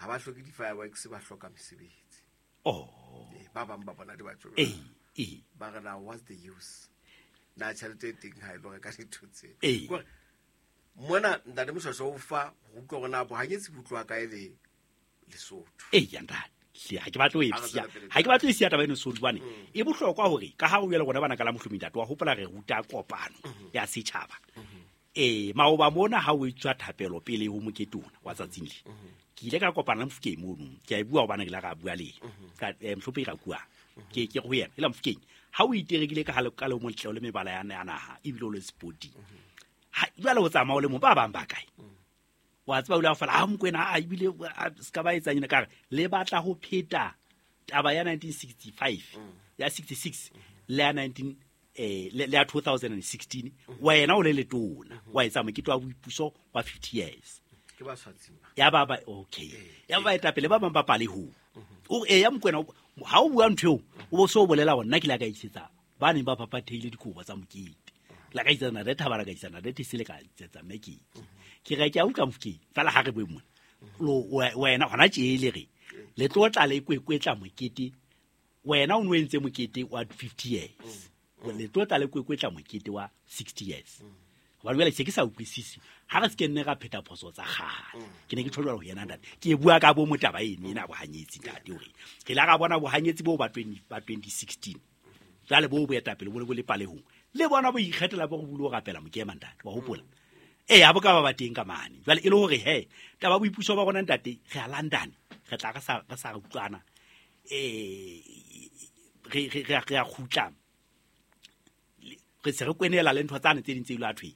ha ba hloke di-fireworks, ba hloka mesebetsi. Oh. Ee, ba bang ba bona di ba tjho. Ee, ee. Ba re na what's the use? Na tjhelete e teng ha e lo reka dintho tse. Ee. Kore mona ntate Moshweshwe o fa ho utlwa hore na bohanyetsi bo utloa kae le Lesotho. Ee, ya ntate. Hle, ha ke batle ho e Ha re siya. tswela pele. Ha ke batle ho e siya taba eno Sodi, hobane e bohlokwa hore ka ha o jwale rona bana ka la mohlomi ntate, wa hopola re ruta kopano ya setjhaba. Maoba mona ha o etswa thapelo pele ho mokete ona wa tsatsing le. Ke ile ka kopana le Mofokeng mono. Ke a e bua hobane ke la ra bua le yena. Ka Mofokeng ra bua. Ke ho yena, e la Mofokeng. Ha o iterekile ka ha le ka le motle le mebala ya naha ebile o le sporting. Ha jwale o tsamaya o le mong, ba bang ba kae? Wa tseba o ile a fela, ha Mokoena, a ebile, a, se ka ba etsang ena, ka re, le batla ho pheta taba ya 1965, ya 66, le ya nineteen, le, le ya 2016, wena o le letona, wa etsa mokete wa boipuso wa 50 years. Ke ba swatsing ba. Ya ba ba, okay. Ya ba baetapele ba bang ba palehong. O re, ya Mokoena, ha o bua ntho eo, o bo so bolela hore nna ke la ka isetsa ba neng ba phaphathehile dikobo tsa mokete. La ka isetsa Nare Thabara, ka isetsa Nare Thesele, ka isetsa Mekete. Ke re ke a utlwa Mofokeng, fela ha re bue mona. Lo, wena hona tje le re, le tlo tla le kwekwetla mokete. Wena o no entse mokete wa 50 years. Le tlo tla le kwekwetla mokete wa 60 years. Hobane jwale se ke sa utlwisise. Ha re se ke nne ra pheta phoso tsa kgale. Ke ne ke tjho jwalo ho yena ntate. Ke e bua ka bo motaba eno ena bohanyetsi ntate hore re la ra bona bohanyetsi boo ba twenty, ba 2016. Jwale bo boetapele bo le bo le palehong. Le bona bo ikgethela bo re bulo rapela mokema ntate, wa hopola? Ee, ha bo ka ba ba teng ka mane. Jwale e le hore he, taba boipuso ba rona ntate, re a London, re tla re sa, re sa utlwana. Re a kgutla. Re se re kwenela le ntho tsane tse ding tse ileng thwe.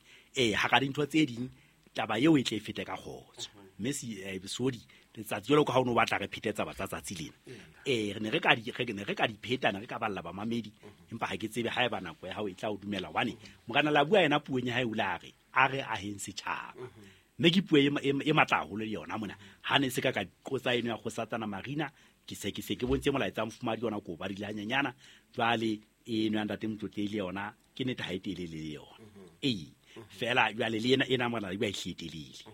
Ha ka dintho tse ding taba eo e tle e fete ka kgotso. Mme si, Sodi, letsatsi jwalo ka ha o no batla re phete taba tsa tsatsi lena. Re ne re ka di, re ne re ka di pheta, ne re ka balla bamamedi, empa ha ke tsebe ha eba nako ya hao e tla o dumela hobane Morena la bua yena puong ya hae o la re, a re aheng setjhaba. Mme ke puo e matla haholo le yona mona. Ha ne se ka ka qotsa eno ya Kgosatsana Marina, ke se ke se ke bontse molaetsa wa mofumahadi yona ko ba dile hanyenyana. Jwale eno ya ntate Motlotlehile le yona ke nnete ha e telele le yona. Ee, fela jwale le ena, ena mona ba e hletelele.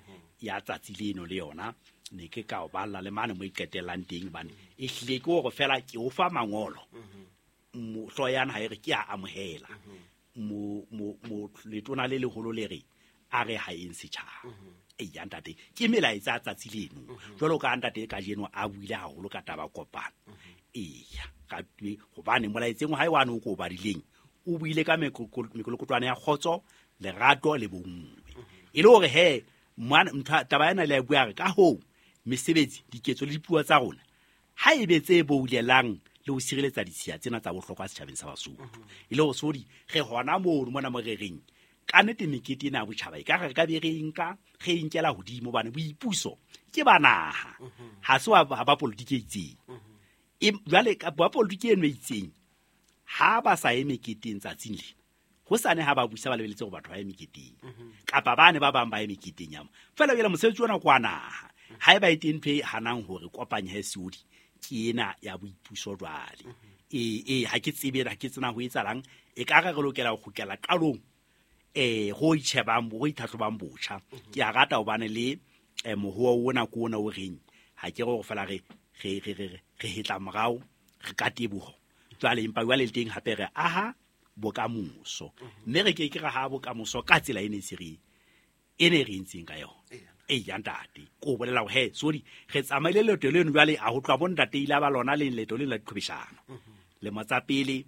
Ya tsatsi leno le yona ne ke ka o balla le mane mo e qetellang teng hobane e hlile ke hore fela ke o fa mangolo. Hlooho ya naha e re ke a amohela. Letona le leholo le re a re ha eng setjhaba. Ee, ya ntate, ke melaetsa tsatsi leno. Jwalo ka ntate kajeno a buile haholo ka taba kopano. Eya, ka twe, hobane molaetseng wa hae wa no ko badileng, o buile ka mekolokotwane ya kgotso, lerato le bonngwe. E le hore he, mwana, ntho, taba ena le a bua re, ka hoo, mesebetsi, diketso le dipuo tsa rona, ha e be tse boulelang le ho sireletsa ditshiya tsena tsa bohlokwa setjhabeng sa Basotho. E le hore Sodi, re hona mono mona mo re reng, ka nnete mekete ena ya botjhaba e ka re ka be re e nka, re e nkela hodimo hobane boipuso ke ba naha. Ha se wa ba politiki e itseng. Jwale ka ba politiki eno e itseng, ha ba sa ye meketeng tsatsing lena, hosane ha ba busa ba lebeletse hore batho ba ye meketeng. Kapa bane ba bang ba ye meketeng ya mo. Feela jwale mosebetsi ona ke wa naha. Ha eba e teng ntho e hanang hore kopanye he Seodi, ke ena ya boipuso jwale. Ee, ha ke tsebe, ha ke tsena ho etsahalang, e ka re re lokela ho kgutlela qalong, ho itjhebang, ho itlhahlobang botjha. Ke a rata hobane le, mohoa ona ke ona o reng, ha ke re hore feela re hetla morao, re ka teboho. Jwale empa jwale le teng hape re aha bokamoso. Mme re ke ke ra ha bokamoso ka tsela e ne se re, e ne re entseng ka yona. Ee, ya ntate, ke o bolela hore, he, sorry, re tsamaile leeto leno jwale, a ho tloha bo ntate ile ba lona le leeto leno la diqhwebeshano. Lemo tsa pele,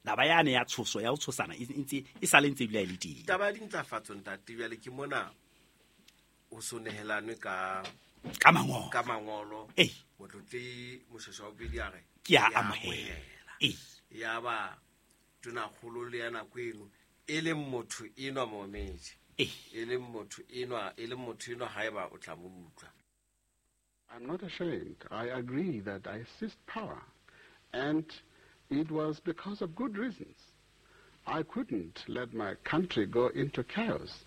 taba yane ya tshoso, ya ho tshosana, e ntse, e sale ntse ebile ha e le teng. Taba ya dintlafatso, ntate, jwale ke mona o so nehelanwe ka Ka mangolo. Ka mangolo. Ee. Motlotlehi Moshweshwe wa bobedi a re, Ke a Ke a amohela. amohela. Ee. Ya ba tonakgolo le ya nako eno E leng motho enwa momedi. E leng motho enwa, e leng motho enwa haeba o tla mo utlwa. I'm not ashamed. I agree that I seized power, and it was because of good reasons. I couldn't let my country go into chaos.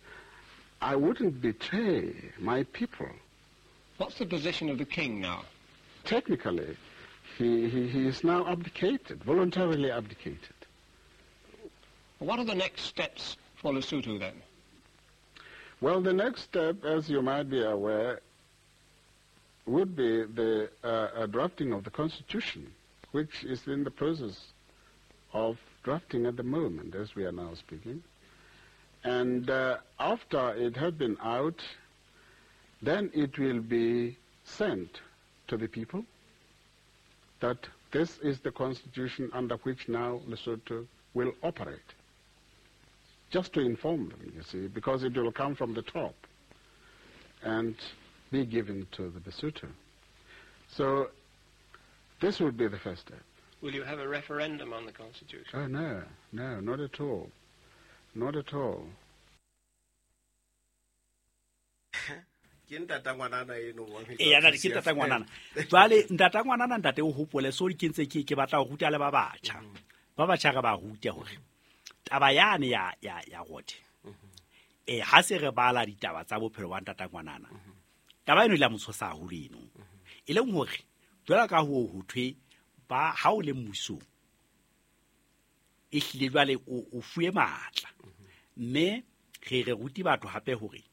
I wouldn't betray my people. What's the position of the king now? Technically, he is now abdicated, voluntarily abdicated. What are the next steps for Lesotho then? Well, the next step, as you might be aware, would be the drafting of the Constitution, which is in the process of drafting at the moment, as we are now speaking. And after it had been out, then it will be sent to the people that this is the Constitution under which now Lesotho will operate. Just to inform them, you see, because it will come from the top and be given to the Basotho. So this would be the first step. Will you have a referendum on the Constitution? Oh, no, no, not at all. Not at all. Ke ntata ngwanana eno wa E ya ke ntata ngwanana. Jwale ntata ngwanana ntate o hopole so ke ntse ke batla ho ruta le ba batjha. Ba batjha re ba rute hore taba yane ya rote. Ha se re bala ditaba tsa bophelo ba ntata ngwanana. Taba eno ile motshosa haholo eno. E leng hore jwale ka ho thwe ba ha o le mmusong e hlile jwale o fuwe matla. Mme re ruti batho hape hore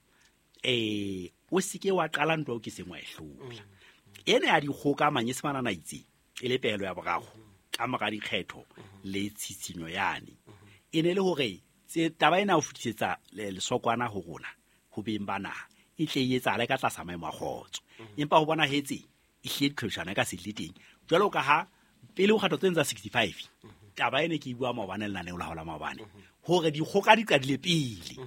o sike wa qala ntwa o ke sengwa e hlola. Ene ya dikgoka manyesemana na itse e le pehelo ya boraro ka mora dikgetho le tshitshinyo yane. E ne le hore tse taba ena o futisetsa lesokwana ho rona ho beng ba naha e tle e etsahale ka tlasa maemo a kgotso. Empa ho bona hetse e hlile diqhwebeshano ka se le teng. Jwalo ka ha pele ho kgatho tsena tsa 65 taba ene ke bua maobane lenaneo la hola maobane hore dikgoka di qadile pele.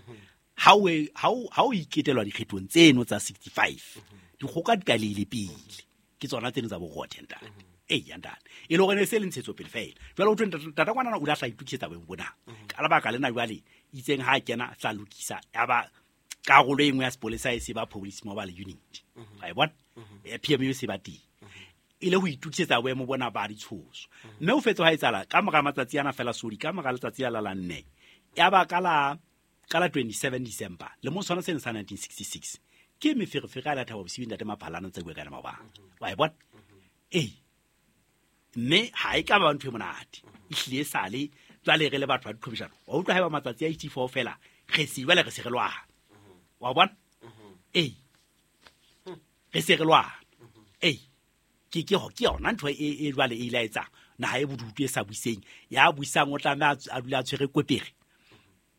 Ha o iketelwa dikgethong tseno tsa 65 dikgoka di qadile pele ke tsona tseno tsa borothe ntate. E ya ntate e le hore ne se le ntshetso pele fela. Jwale o thwe ntata ngwanana o la tla itukisetsa boemo bona. Ka lebaka lena jwale itseng ha kena tla lokisa ya ba karolo e nngwe ya sepolesa e se ba police mobile unit. Wa e bona? Ya PMU se ba teng. E le ho itukisetsa boemo bona ba ditshoso. Mme o fetse ha etsala ka mora matsatsi ana fela sodi ka mora letsatsi la nne. Ya ba ka la 27 December le mo sona sena sa 1966 ke meferefere a la Thabo Bosiu ntate Maphalana tse bua ka maobane. Wa e bona? Mme ha e ka ba ntho e monate. E hlile sale jwale re le batho ba diqhwebeshano. Wa utlwa haeba matsatsi a 84 fela re se jwale re se re lwana. Wa bona? Re se re lwana. Ke yona ntho e jwale e ile etsa naha e bodutu e sa buiseng ya buisang o tlameha a dula a tshwere kwepere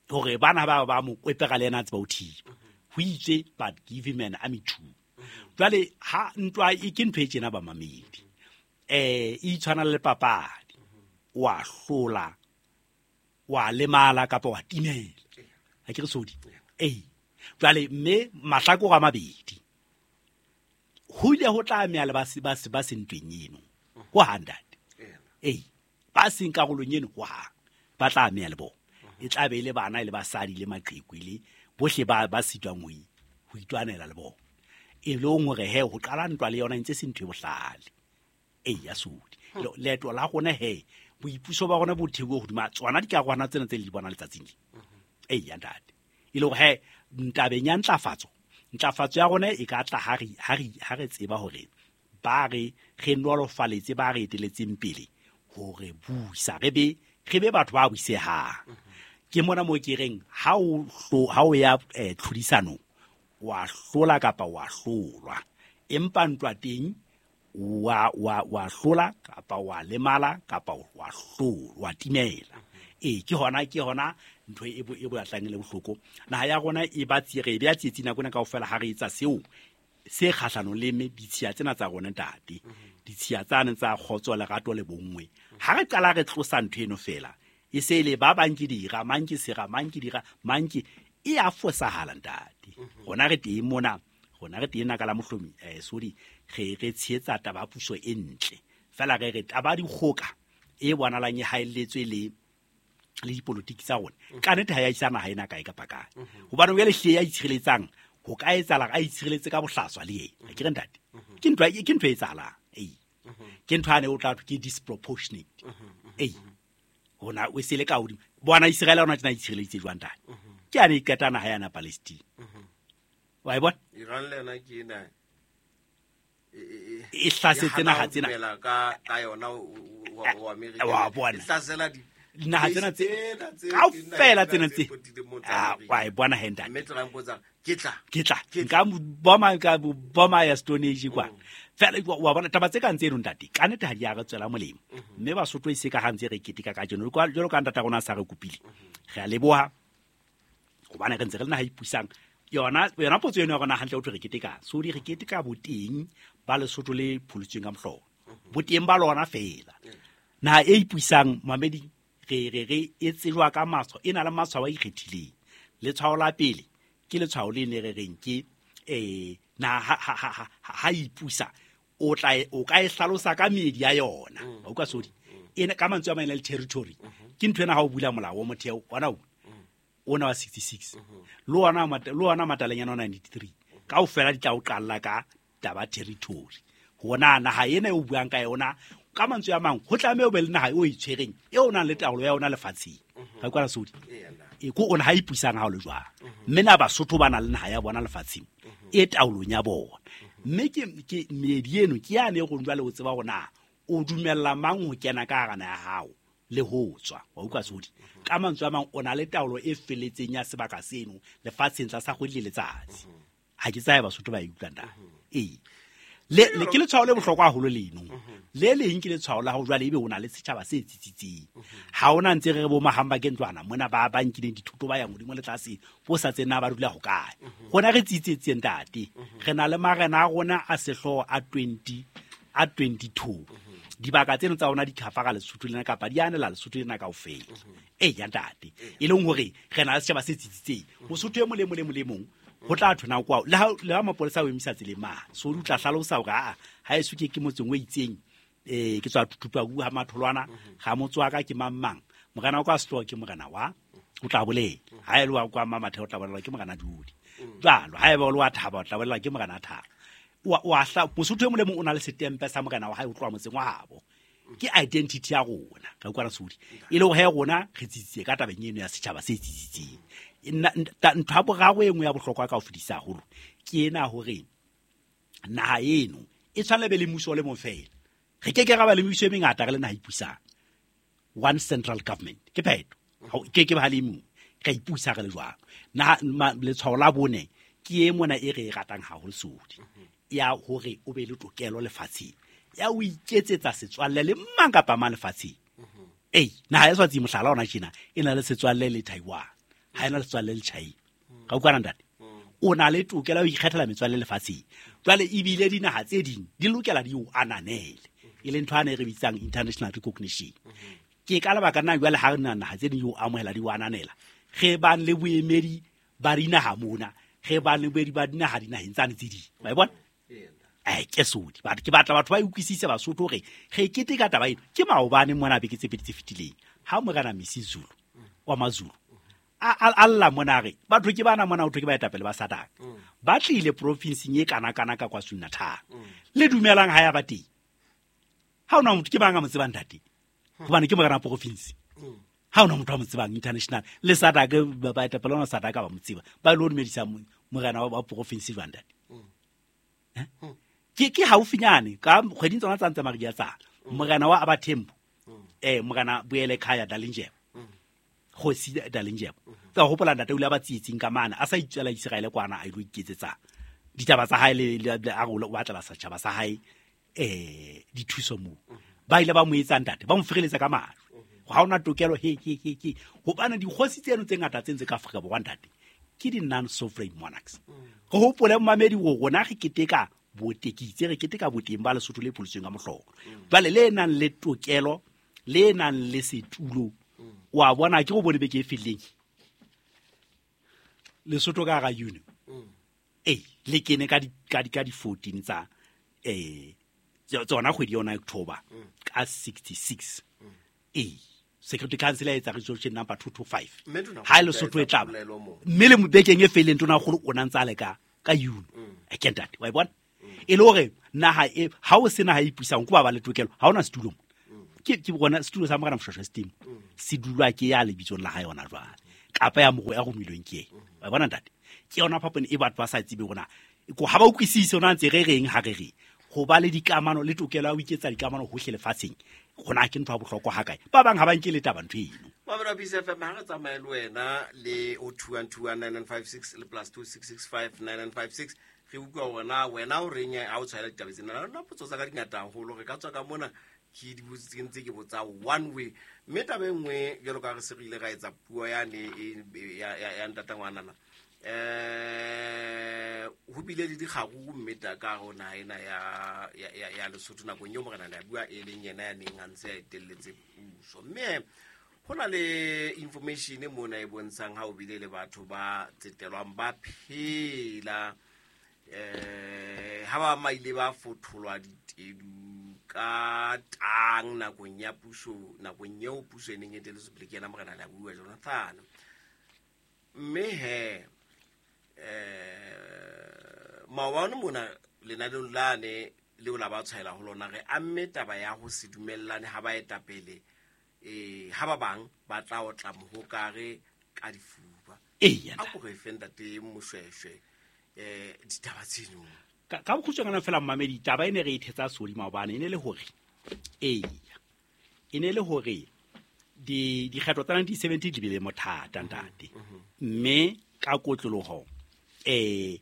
hore bana ba mo kwepera le yena a tseba ho thiba. Ho itse but give him an army too. Jwale ha ntwa e ke ntho e tjena ba mamedi. E tshwana le papadi. Wa hlola, wa lemala kapa wa timela. Ha ke re sodi. Jwale mme mahlakore a mabedi. Ho ile ho tla meya le ba se ntweng eno. Ho handate. Ba seng karolong eno ho ha ba tla meya le bona. E tla be le bana le basadi le maqheku le bohle ba sitwang ho itwanela le bona. E le hore he ho qala ntwa le yona ntse se ntho e bohlale. Ya sodi. Leeto la rona he boipuso ba rona bo thewe hodima tsona dikarolwana tsena tse le di bonang letsatsing le. Ya ntate. E le hore he ntabeng ya ntlafatso ya rona e ka tla ha re tseba hore ba re nolofaletse ba re eteletseng pele hore buisa re be batho ba buisehang. Ke mona mo ke reng ha o ya tlhodisanong wa hlola kapa wa hlolwa. Empa ntwa teng wa hlola kapa wa lemala kapa wa hlolwa wa timela. Ke hona ntho e batlang le bohloko. Naha ya rona e ba tsire e be ya tsietsi nako ena kaofela ha re etsa seo se kgahlanong le ditshiya tsena tsa rona ntate. Ditshiya tsane tsa kgotso lerato le bonngwe. Ha re qala re tlosa ntho eno fela e se le ba bang ke dira mang ke sera mang ke dira mang ke e a fosahala ntate. Rona re teng mona, rona re teng naka la mohlomi sorry re tshehetsa taba puso e ntle. Fela re taba dikgoka e bonalang e haelletswe le Le dipolotiki tsa rona ka nnete ha ya isa naha ena kae kapa kae, hobane jwale hle ya itshireletsang ho ka etsahala a itshireletse ka bohlaswa le yena. Ke re ntate, ke ntho e etsahalang. Ee, ke ntho ane o tla thwe ke disproportionate. Ee, hona o sele ka hodimo bona Israel ona tjena itshireleditse jwang ntate? Ke ane e qeta naha yana Palestine, wa e bona? Iran le yona ke ena e hlasetse naha tsena ka yona wa Amerika, wa bona, e hlasela dinaha tsena tse kaofela tsena tse, wa e bona he ntate? Mme Trump o tsa ke tla ke tla nka boma ka boma ya Stone Age kwa fela. Wa bona taba tse kang tseno ntate, ka nnete ha di a re tswela molemo. Mme Basotho e se ka ha ntse re keteka kajeno jwalo ka ntata rona sa re kopile, re a leboha, hobane re ntse re le naha ipusang. Yona potso eno ya rona hantle, o thwe re keteka so di re keteka boteng ba Lesotho le pholositsweng ka mohlolo, boteng ba lona fela. Naha e ipusang, mamedi, re e tsejwa ka matshwao, e na le matshwao a ikgethileng. Letshwao la pele ke letshwao le ne re reng ke na ha ipusa, o tla o ka e hlalosa ka meedi ya yona. Wa utlwa sodi ena ka mantswe a mang le territory ke ntho ena. Ha o bula molao wa motheo ona ona wa 66 le ona matalanyana wa 93 kaofela, di tla o qalla ka taba territory, hona naha ena e o buang ka yona. Ka mantswe a mang, ho tlameha o be le naha e o e tshwereng, e o nang le taolo ya yona lefatsheng. Ga kwana sodi e ko ona ha ipusang ha o le jwang. Mme na Basotho ba na le naha ya bona lefatsheng e taolong ya bona. Mme ke meedi eno ke yane e rong jwale o tseba hore na o dumella mang ho kena ka hara naha ya hao le ho tswa. Wa utlwa sodi? Ka mantswe a mang, o na le taolo e felletseng ya sebaka seno lefatsheng tlasa kgwedi le letsatsi. Ha ke tsaye Basotho ba e utlwang da. Ee, le ke letshwao le bohlokwa haholo leno. Le leng ke letshwao la ho jwale ebe o na le setjhaba se tsitsitseng. Ha ona ntse re re bo mahamba ke ntlwana mona ba nkileng dithuto, ba yang hodimo le tlase, bo sa tsena ba dula hokae. Rona re tsitsetse ntate, re na le marena a rona a sehlooho a 20 a 22. Dibaka tseno tsa rona di khafara Lesotho lena kapa di anela Lesotho lena kaofela. Ee ya ntate, e leng hore re na le setjhaba se tsitsitseng. Mosotho e mong le mong le mong le mong ho tla thona kwao le ha mapolesa o emisa tseleng mane so o tla hlalosa hore aa ha eso ke motseng o itseng, ke tswa Thuthupaku ha Matholwana, ga motse wa ka ke mang mang, morena wa ka sehlooho ke morena wa, o tla bolela. Ha e le wa kwa Mamatheo, o tla bolelwa ke morena Dudi jwalo. Ha eba o le wa Thaba, o tla bolelwa ke morena Thaba. Wa hla mosotho e mong le mong o na le setempe sa morena wa hae ho tloha motseng wa habo. Ke identity ya rona ka utlwana sodi, e le hore he rona re tsitsitse ka tabeng eno ya setjhaba se tsitsitseng. Ntho ya boraro e nngwe ya bohlokwa ka ho fetisa haholo ke ena, hore naha eno e tshwanela be le mmuso o le mong fela. Re ke ke ra ba le mebuso e mengata re le naha ipusang. One central government ke phetho. Ke ke ba le mong re ipusa re le jwang naha. Letshwao la bone ke e mona e re e ratang haholo sodi, ya hore o be le tokelo lefatsheng ya o iketsetsa setswalle le mang kapa mang lefatsheng. Ei, naha ya Swatsi, mohlala ona tjena, e na le setswalle le Taiwan, ha e na le setswalle le China. Ka utlwana ntate? O na le tokelo ya ho ikgethela metswalle lefatsheng. Jwale ebile dinaha tse ding di lokela di o ananele, e leng ntho ane e re bitsang international recognition. Ke ka lebaka nna jwale ha re na naha tse ding di o amohela, di o ananela, re bang le boemedi ba dinaha mona, re bang le boemedi ba dinaha dinaheng tsane tse ding, wa e bona? Ai ke sodi batho, ke batla batho ba e utlwisise Basotho hore re keteka taba eno. Ke maobane mona beke tse pedi tse fetileng ha morena Misi Zulu wa Mazulu a lla mona, a re batho ke bana mona, ho thwe ke baetapele ba SADC ba tlile profinseng e kana-kana ka KwaZulu Natal. Le dumelang ha ya ba teng, ha ona motho ke bang a mo tsebang ntate, hobane ke morena wa province. Ha ona motho a mo tsebang international le SADC, baetapele ona SADC ba mo tseba, ba ile ho dumedisa morena wa province jwang ntate? Ke haufinyane ka kgweding tsona tsa ntse maria tsa morena wa Abathembu, morena Boele Khaya Dalindyebo, kgosi Dalindyebo. Ka hopola ntate o ile a ba tsietsing ka mane a sa itswela Israele kwana, a ilo iketsetsa ditaba tsa hae le a re o batlela setjhaba sa hae dithuso moo. Ba ile ba mo etsa ntate, ba mo fereletsa ka majwe, ha ona tokelo he he he he, hobane dikgosi tseno tse ngata tse ntse ka Afrika Borwa ntate ke di non-sovereign monarchs. Re hopole momamedi hore rona re keteka botekitse, re keteka boteng ba Lesotho le pholositsweng ka mohlolo, jwale le nang le tokelo, le nang le setulo. Wa bona, ke go bone beke e fetileng Lesotho ka hara union ee le kene ka di 14 tsa tsona kgwedi yona October ka 66. Ee, Security Council ya etsa resolution number 225. Mme Tonakgolo Ha e o Lesotho e etsa tlaba. polelo moo. Mme le bekeng e feileng Tonakgolo o na ntse a le ka ka UN. Ke ntate, wa e bona? E le hore naha e ha o se naha e ipusang ko ba ba le tokelo, ha ona setulo mo. Ke bona setulo sa Morena Moshoeshoe se teng. Se dulwa ke ya lebitsong la hae hona jwale. Kapa ya moro ya romilweng ke ena. Wa e bona ntate? Ke yona phapano e batho ba sa tsebe hore na ko ha ba utlwisise hore na ntse re reng ha re reng. Ho ba le dikamano le tokelo ya ho iketsa dikamano hohle lefatsheng, hona ke ntho ya bohlokwa ha kae. Ba bang ha ba nke le taba ntho eno. Mamelo wa Peace FM, ha re tsamaye le wena le o 2121956 le plus 26659956. Re utlwa hore na wena o reng ha o tshwaela ditaba tsena. Nna potso tsa ka di ngata haholo, re ka tswa ka mona ke di botse, ke ntse ke botsa one way. Mme taba e nngwe jwalo ka re se re ile ra etsa puo yane ya ntata ngwanana. Ho bile le dikgaruru mme ta ka hare ho naha ena ya Lesotho nakong eo Morena Leabua e leng yena ya neng a ntse a etelletse puso. Mme ho na le information mona e bontshang ha ho bile le batho ba tsetelwang ba phela, ha ba maile ba fotholwa ditedu ka tang nakong ya puso, nakong eo puso e neng e etelletswe pele ke yena Morena Leabua Jonathan. Mme he, maobane mona lenaneong lane leo la ba tshwaela ho lona, re amme taba ya ho se dumellane ha baetapele, ha ba bang ba tla otla mohokare ka difuba. Eya, A ko re fe ntate Moshoeshoe, ditaba tseno. Ka bokgutshwanyane fela mmamedi, taba e ne re e thetsa sodi maobane e ne le hore, eya, e ne le hore dikgetho tsa 1970 di bile mothata ntate. Mme ka kotloloho, ke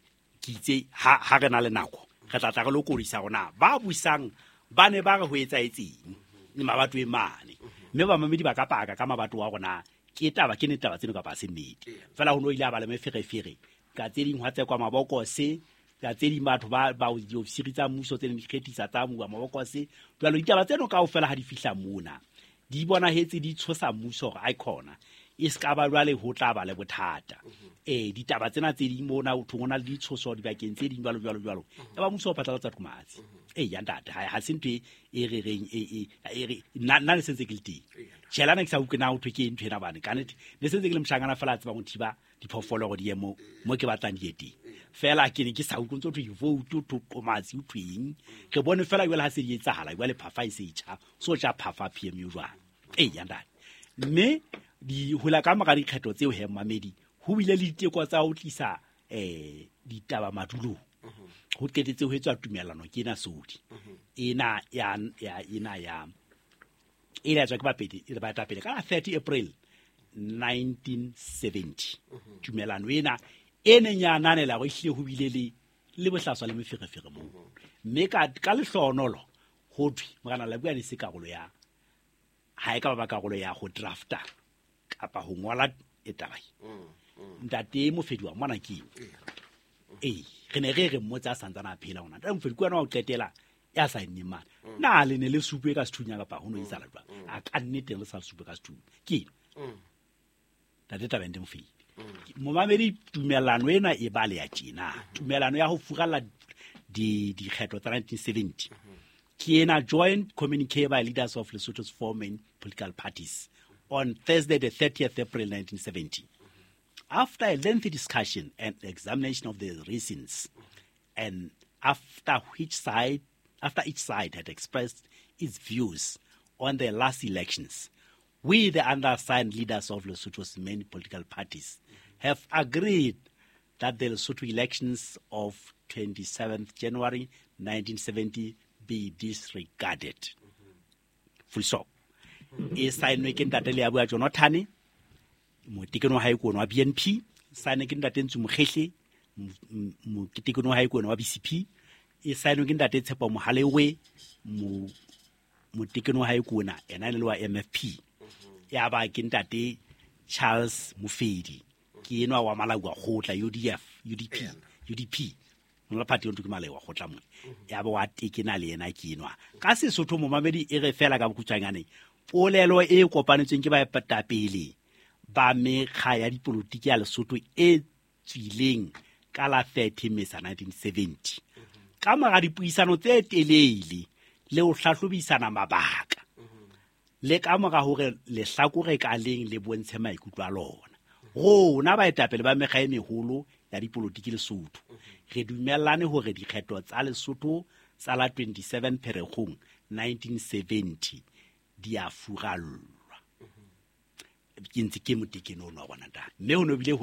itse ha re na le nako, re tla tla re lokodisa rona ba busang ba ne ba re ho etsahetseng le mabatoweng mane. Mme bamamedi ba ka paka ka mabato wa rona, ke taba, ke nnete taba tseno kapa ha se nnete. Fela ho no ile a ba le meferefere, ka tse ding hwa tsekwa mabokose, ka tse ding batho ba diofisiri tsa mmuso tse neng di kgethisa tsa bua mabokose. Jwale ditaba tseno kaofela ha di fihla mona, di bonahetse di tshosa mmuso hore aikhona e se ka ba jwale ho tla ba le bothata. Ditaba tsena tse ding mona ho thwe ho na le ditshoso dibakeng tse ding jwalo, jwalo, jwalo. Ya ba mmuso o phatlalatsa qomatsi. Ya ntate, ha se ntho e re reng, e re, nna ne sentse ke le teng. Tjhe, la ne ke sa utlwe na ho thwe ke ntho ena bane. Ka nnete, ne sentse ke le moshanyana fela a tsebang ho thiba diphoofolo hore di ye mo ke batlang di ye teng. Fela ke ne ke sa utlwe ntse ho thwe vote, ho thwe qomatsi, ho thweng. Re bone fela jwale ha se di etsahala, jwale phafa e se e tjha. So tja phafa PMU jwang. Ya ntate. Mme di hola ka mora dikgetho tseo he mmamedi, ho bile le diteko tsa ho tlisa, ditaba madulong. Ho qetetse ho etswa tumellano ke ena Sodi. Ena ya, ya, ena ya, e ile ya tswa ke bapedi, e le baetapele ka la 30 April 1970. Tumellano ena e neng ya ananela hore ehlile ho bile le bohlaswa le meferefere moo. Mme ka lehlohonolo ho thwe Morena Leabua ne se karolo ya, ha e ka ba karolo ya ho drafta kapa ho ngola e taba e. Ntate Mofedi wa mona ke eo. Re ne re re mmotse a santsane a phela hona. Ntate Mofedi ke wena wa ho qetela ya sa enneng mane. Na le ne le supe ka sethunya kapa ho no etsahala jwang? A ka nnete le sa supe ka sethunya. Ke eno. Ntate Tabente Mofedi. Momamedi, tumellano ena e ba le ya tjena. Tumellano ya ho furalla dikgetho tsa 1970. Ke ena joint communique by leaders of Lesotho's four main political parties on Thursday the 30th April 1970. After a lengthy discussion and examination of the reasons, and after each side had expressed its views on the last elections, we, the undersigned leaders of Lesotho's main political parties, have agreed that the Lesotho elections of 27th January 1970 be disregarded. Full stop. E saenwe ke ntate Leabua Jonathan, motekeno wa hae ke ona wa BNP, saenwe ke ntate Ntsu Mokhehle, motekeno wa hae ke ona wa BCP, e saenwe ke ntate Tshepo Mohalewe, motekeno wa hae ke ona, ena e le wa MFP. Ya ba ke ntate Charles Mofedi, ke enwa wa Malawi wa kgotla, UDF, UDP, UDP. Mola party o ntho ke Malawi wa kgotla mona. Ya ba wa tekena le yena ke enwa. Ka Sesotho momamedi e re fela ka bokgutshwanyane, polelo e kopanetsweng ke baetapele ba mekga ya dipolotiki ya Lesotho e tswileng ka la 30 Mmesa 1970. Ka mora dipuisano tse telele le ho hlahlobisana mabaka, Le ka mora hore lehlakore ka leng le bontshe maikutlo a lona, rona baetapele ba mekga e meholo ya dipolotiki Lesotho re dumellane hore dikgetho tsa Lesotho tsa la 27 Pherekgong 1970 di a furallwa. Ke ntse ke motekeno ono wa bona ntate, mme ho no bile ho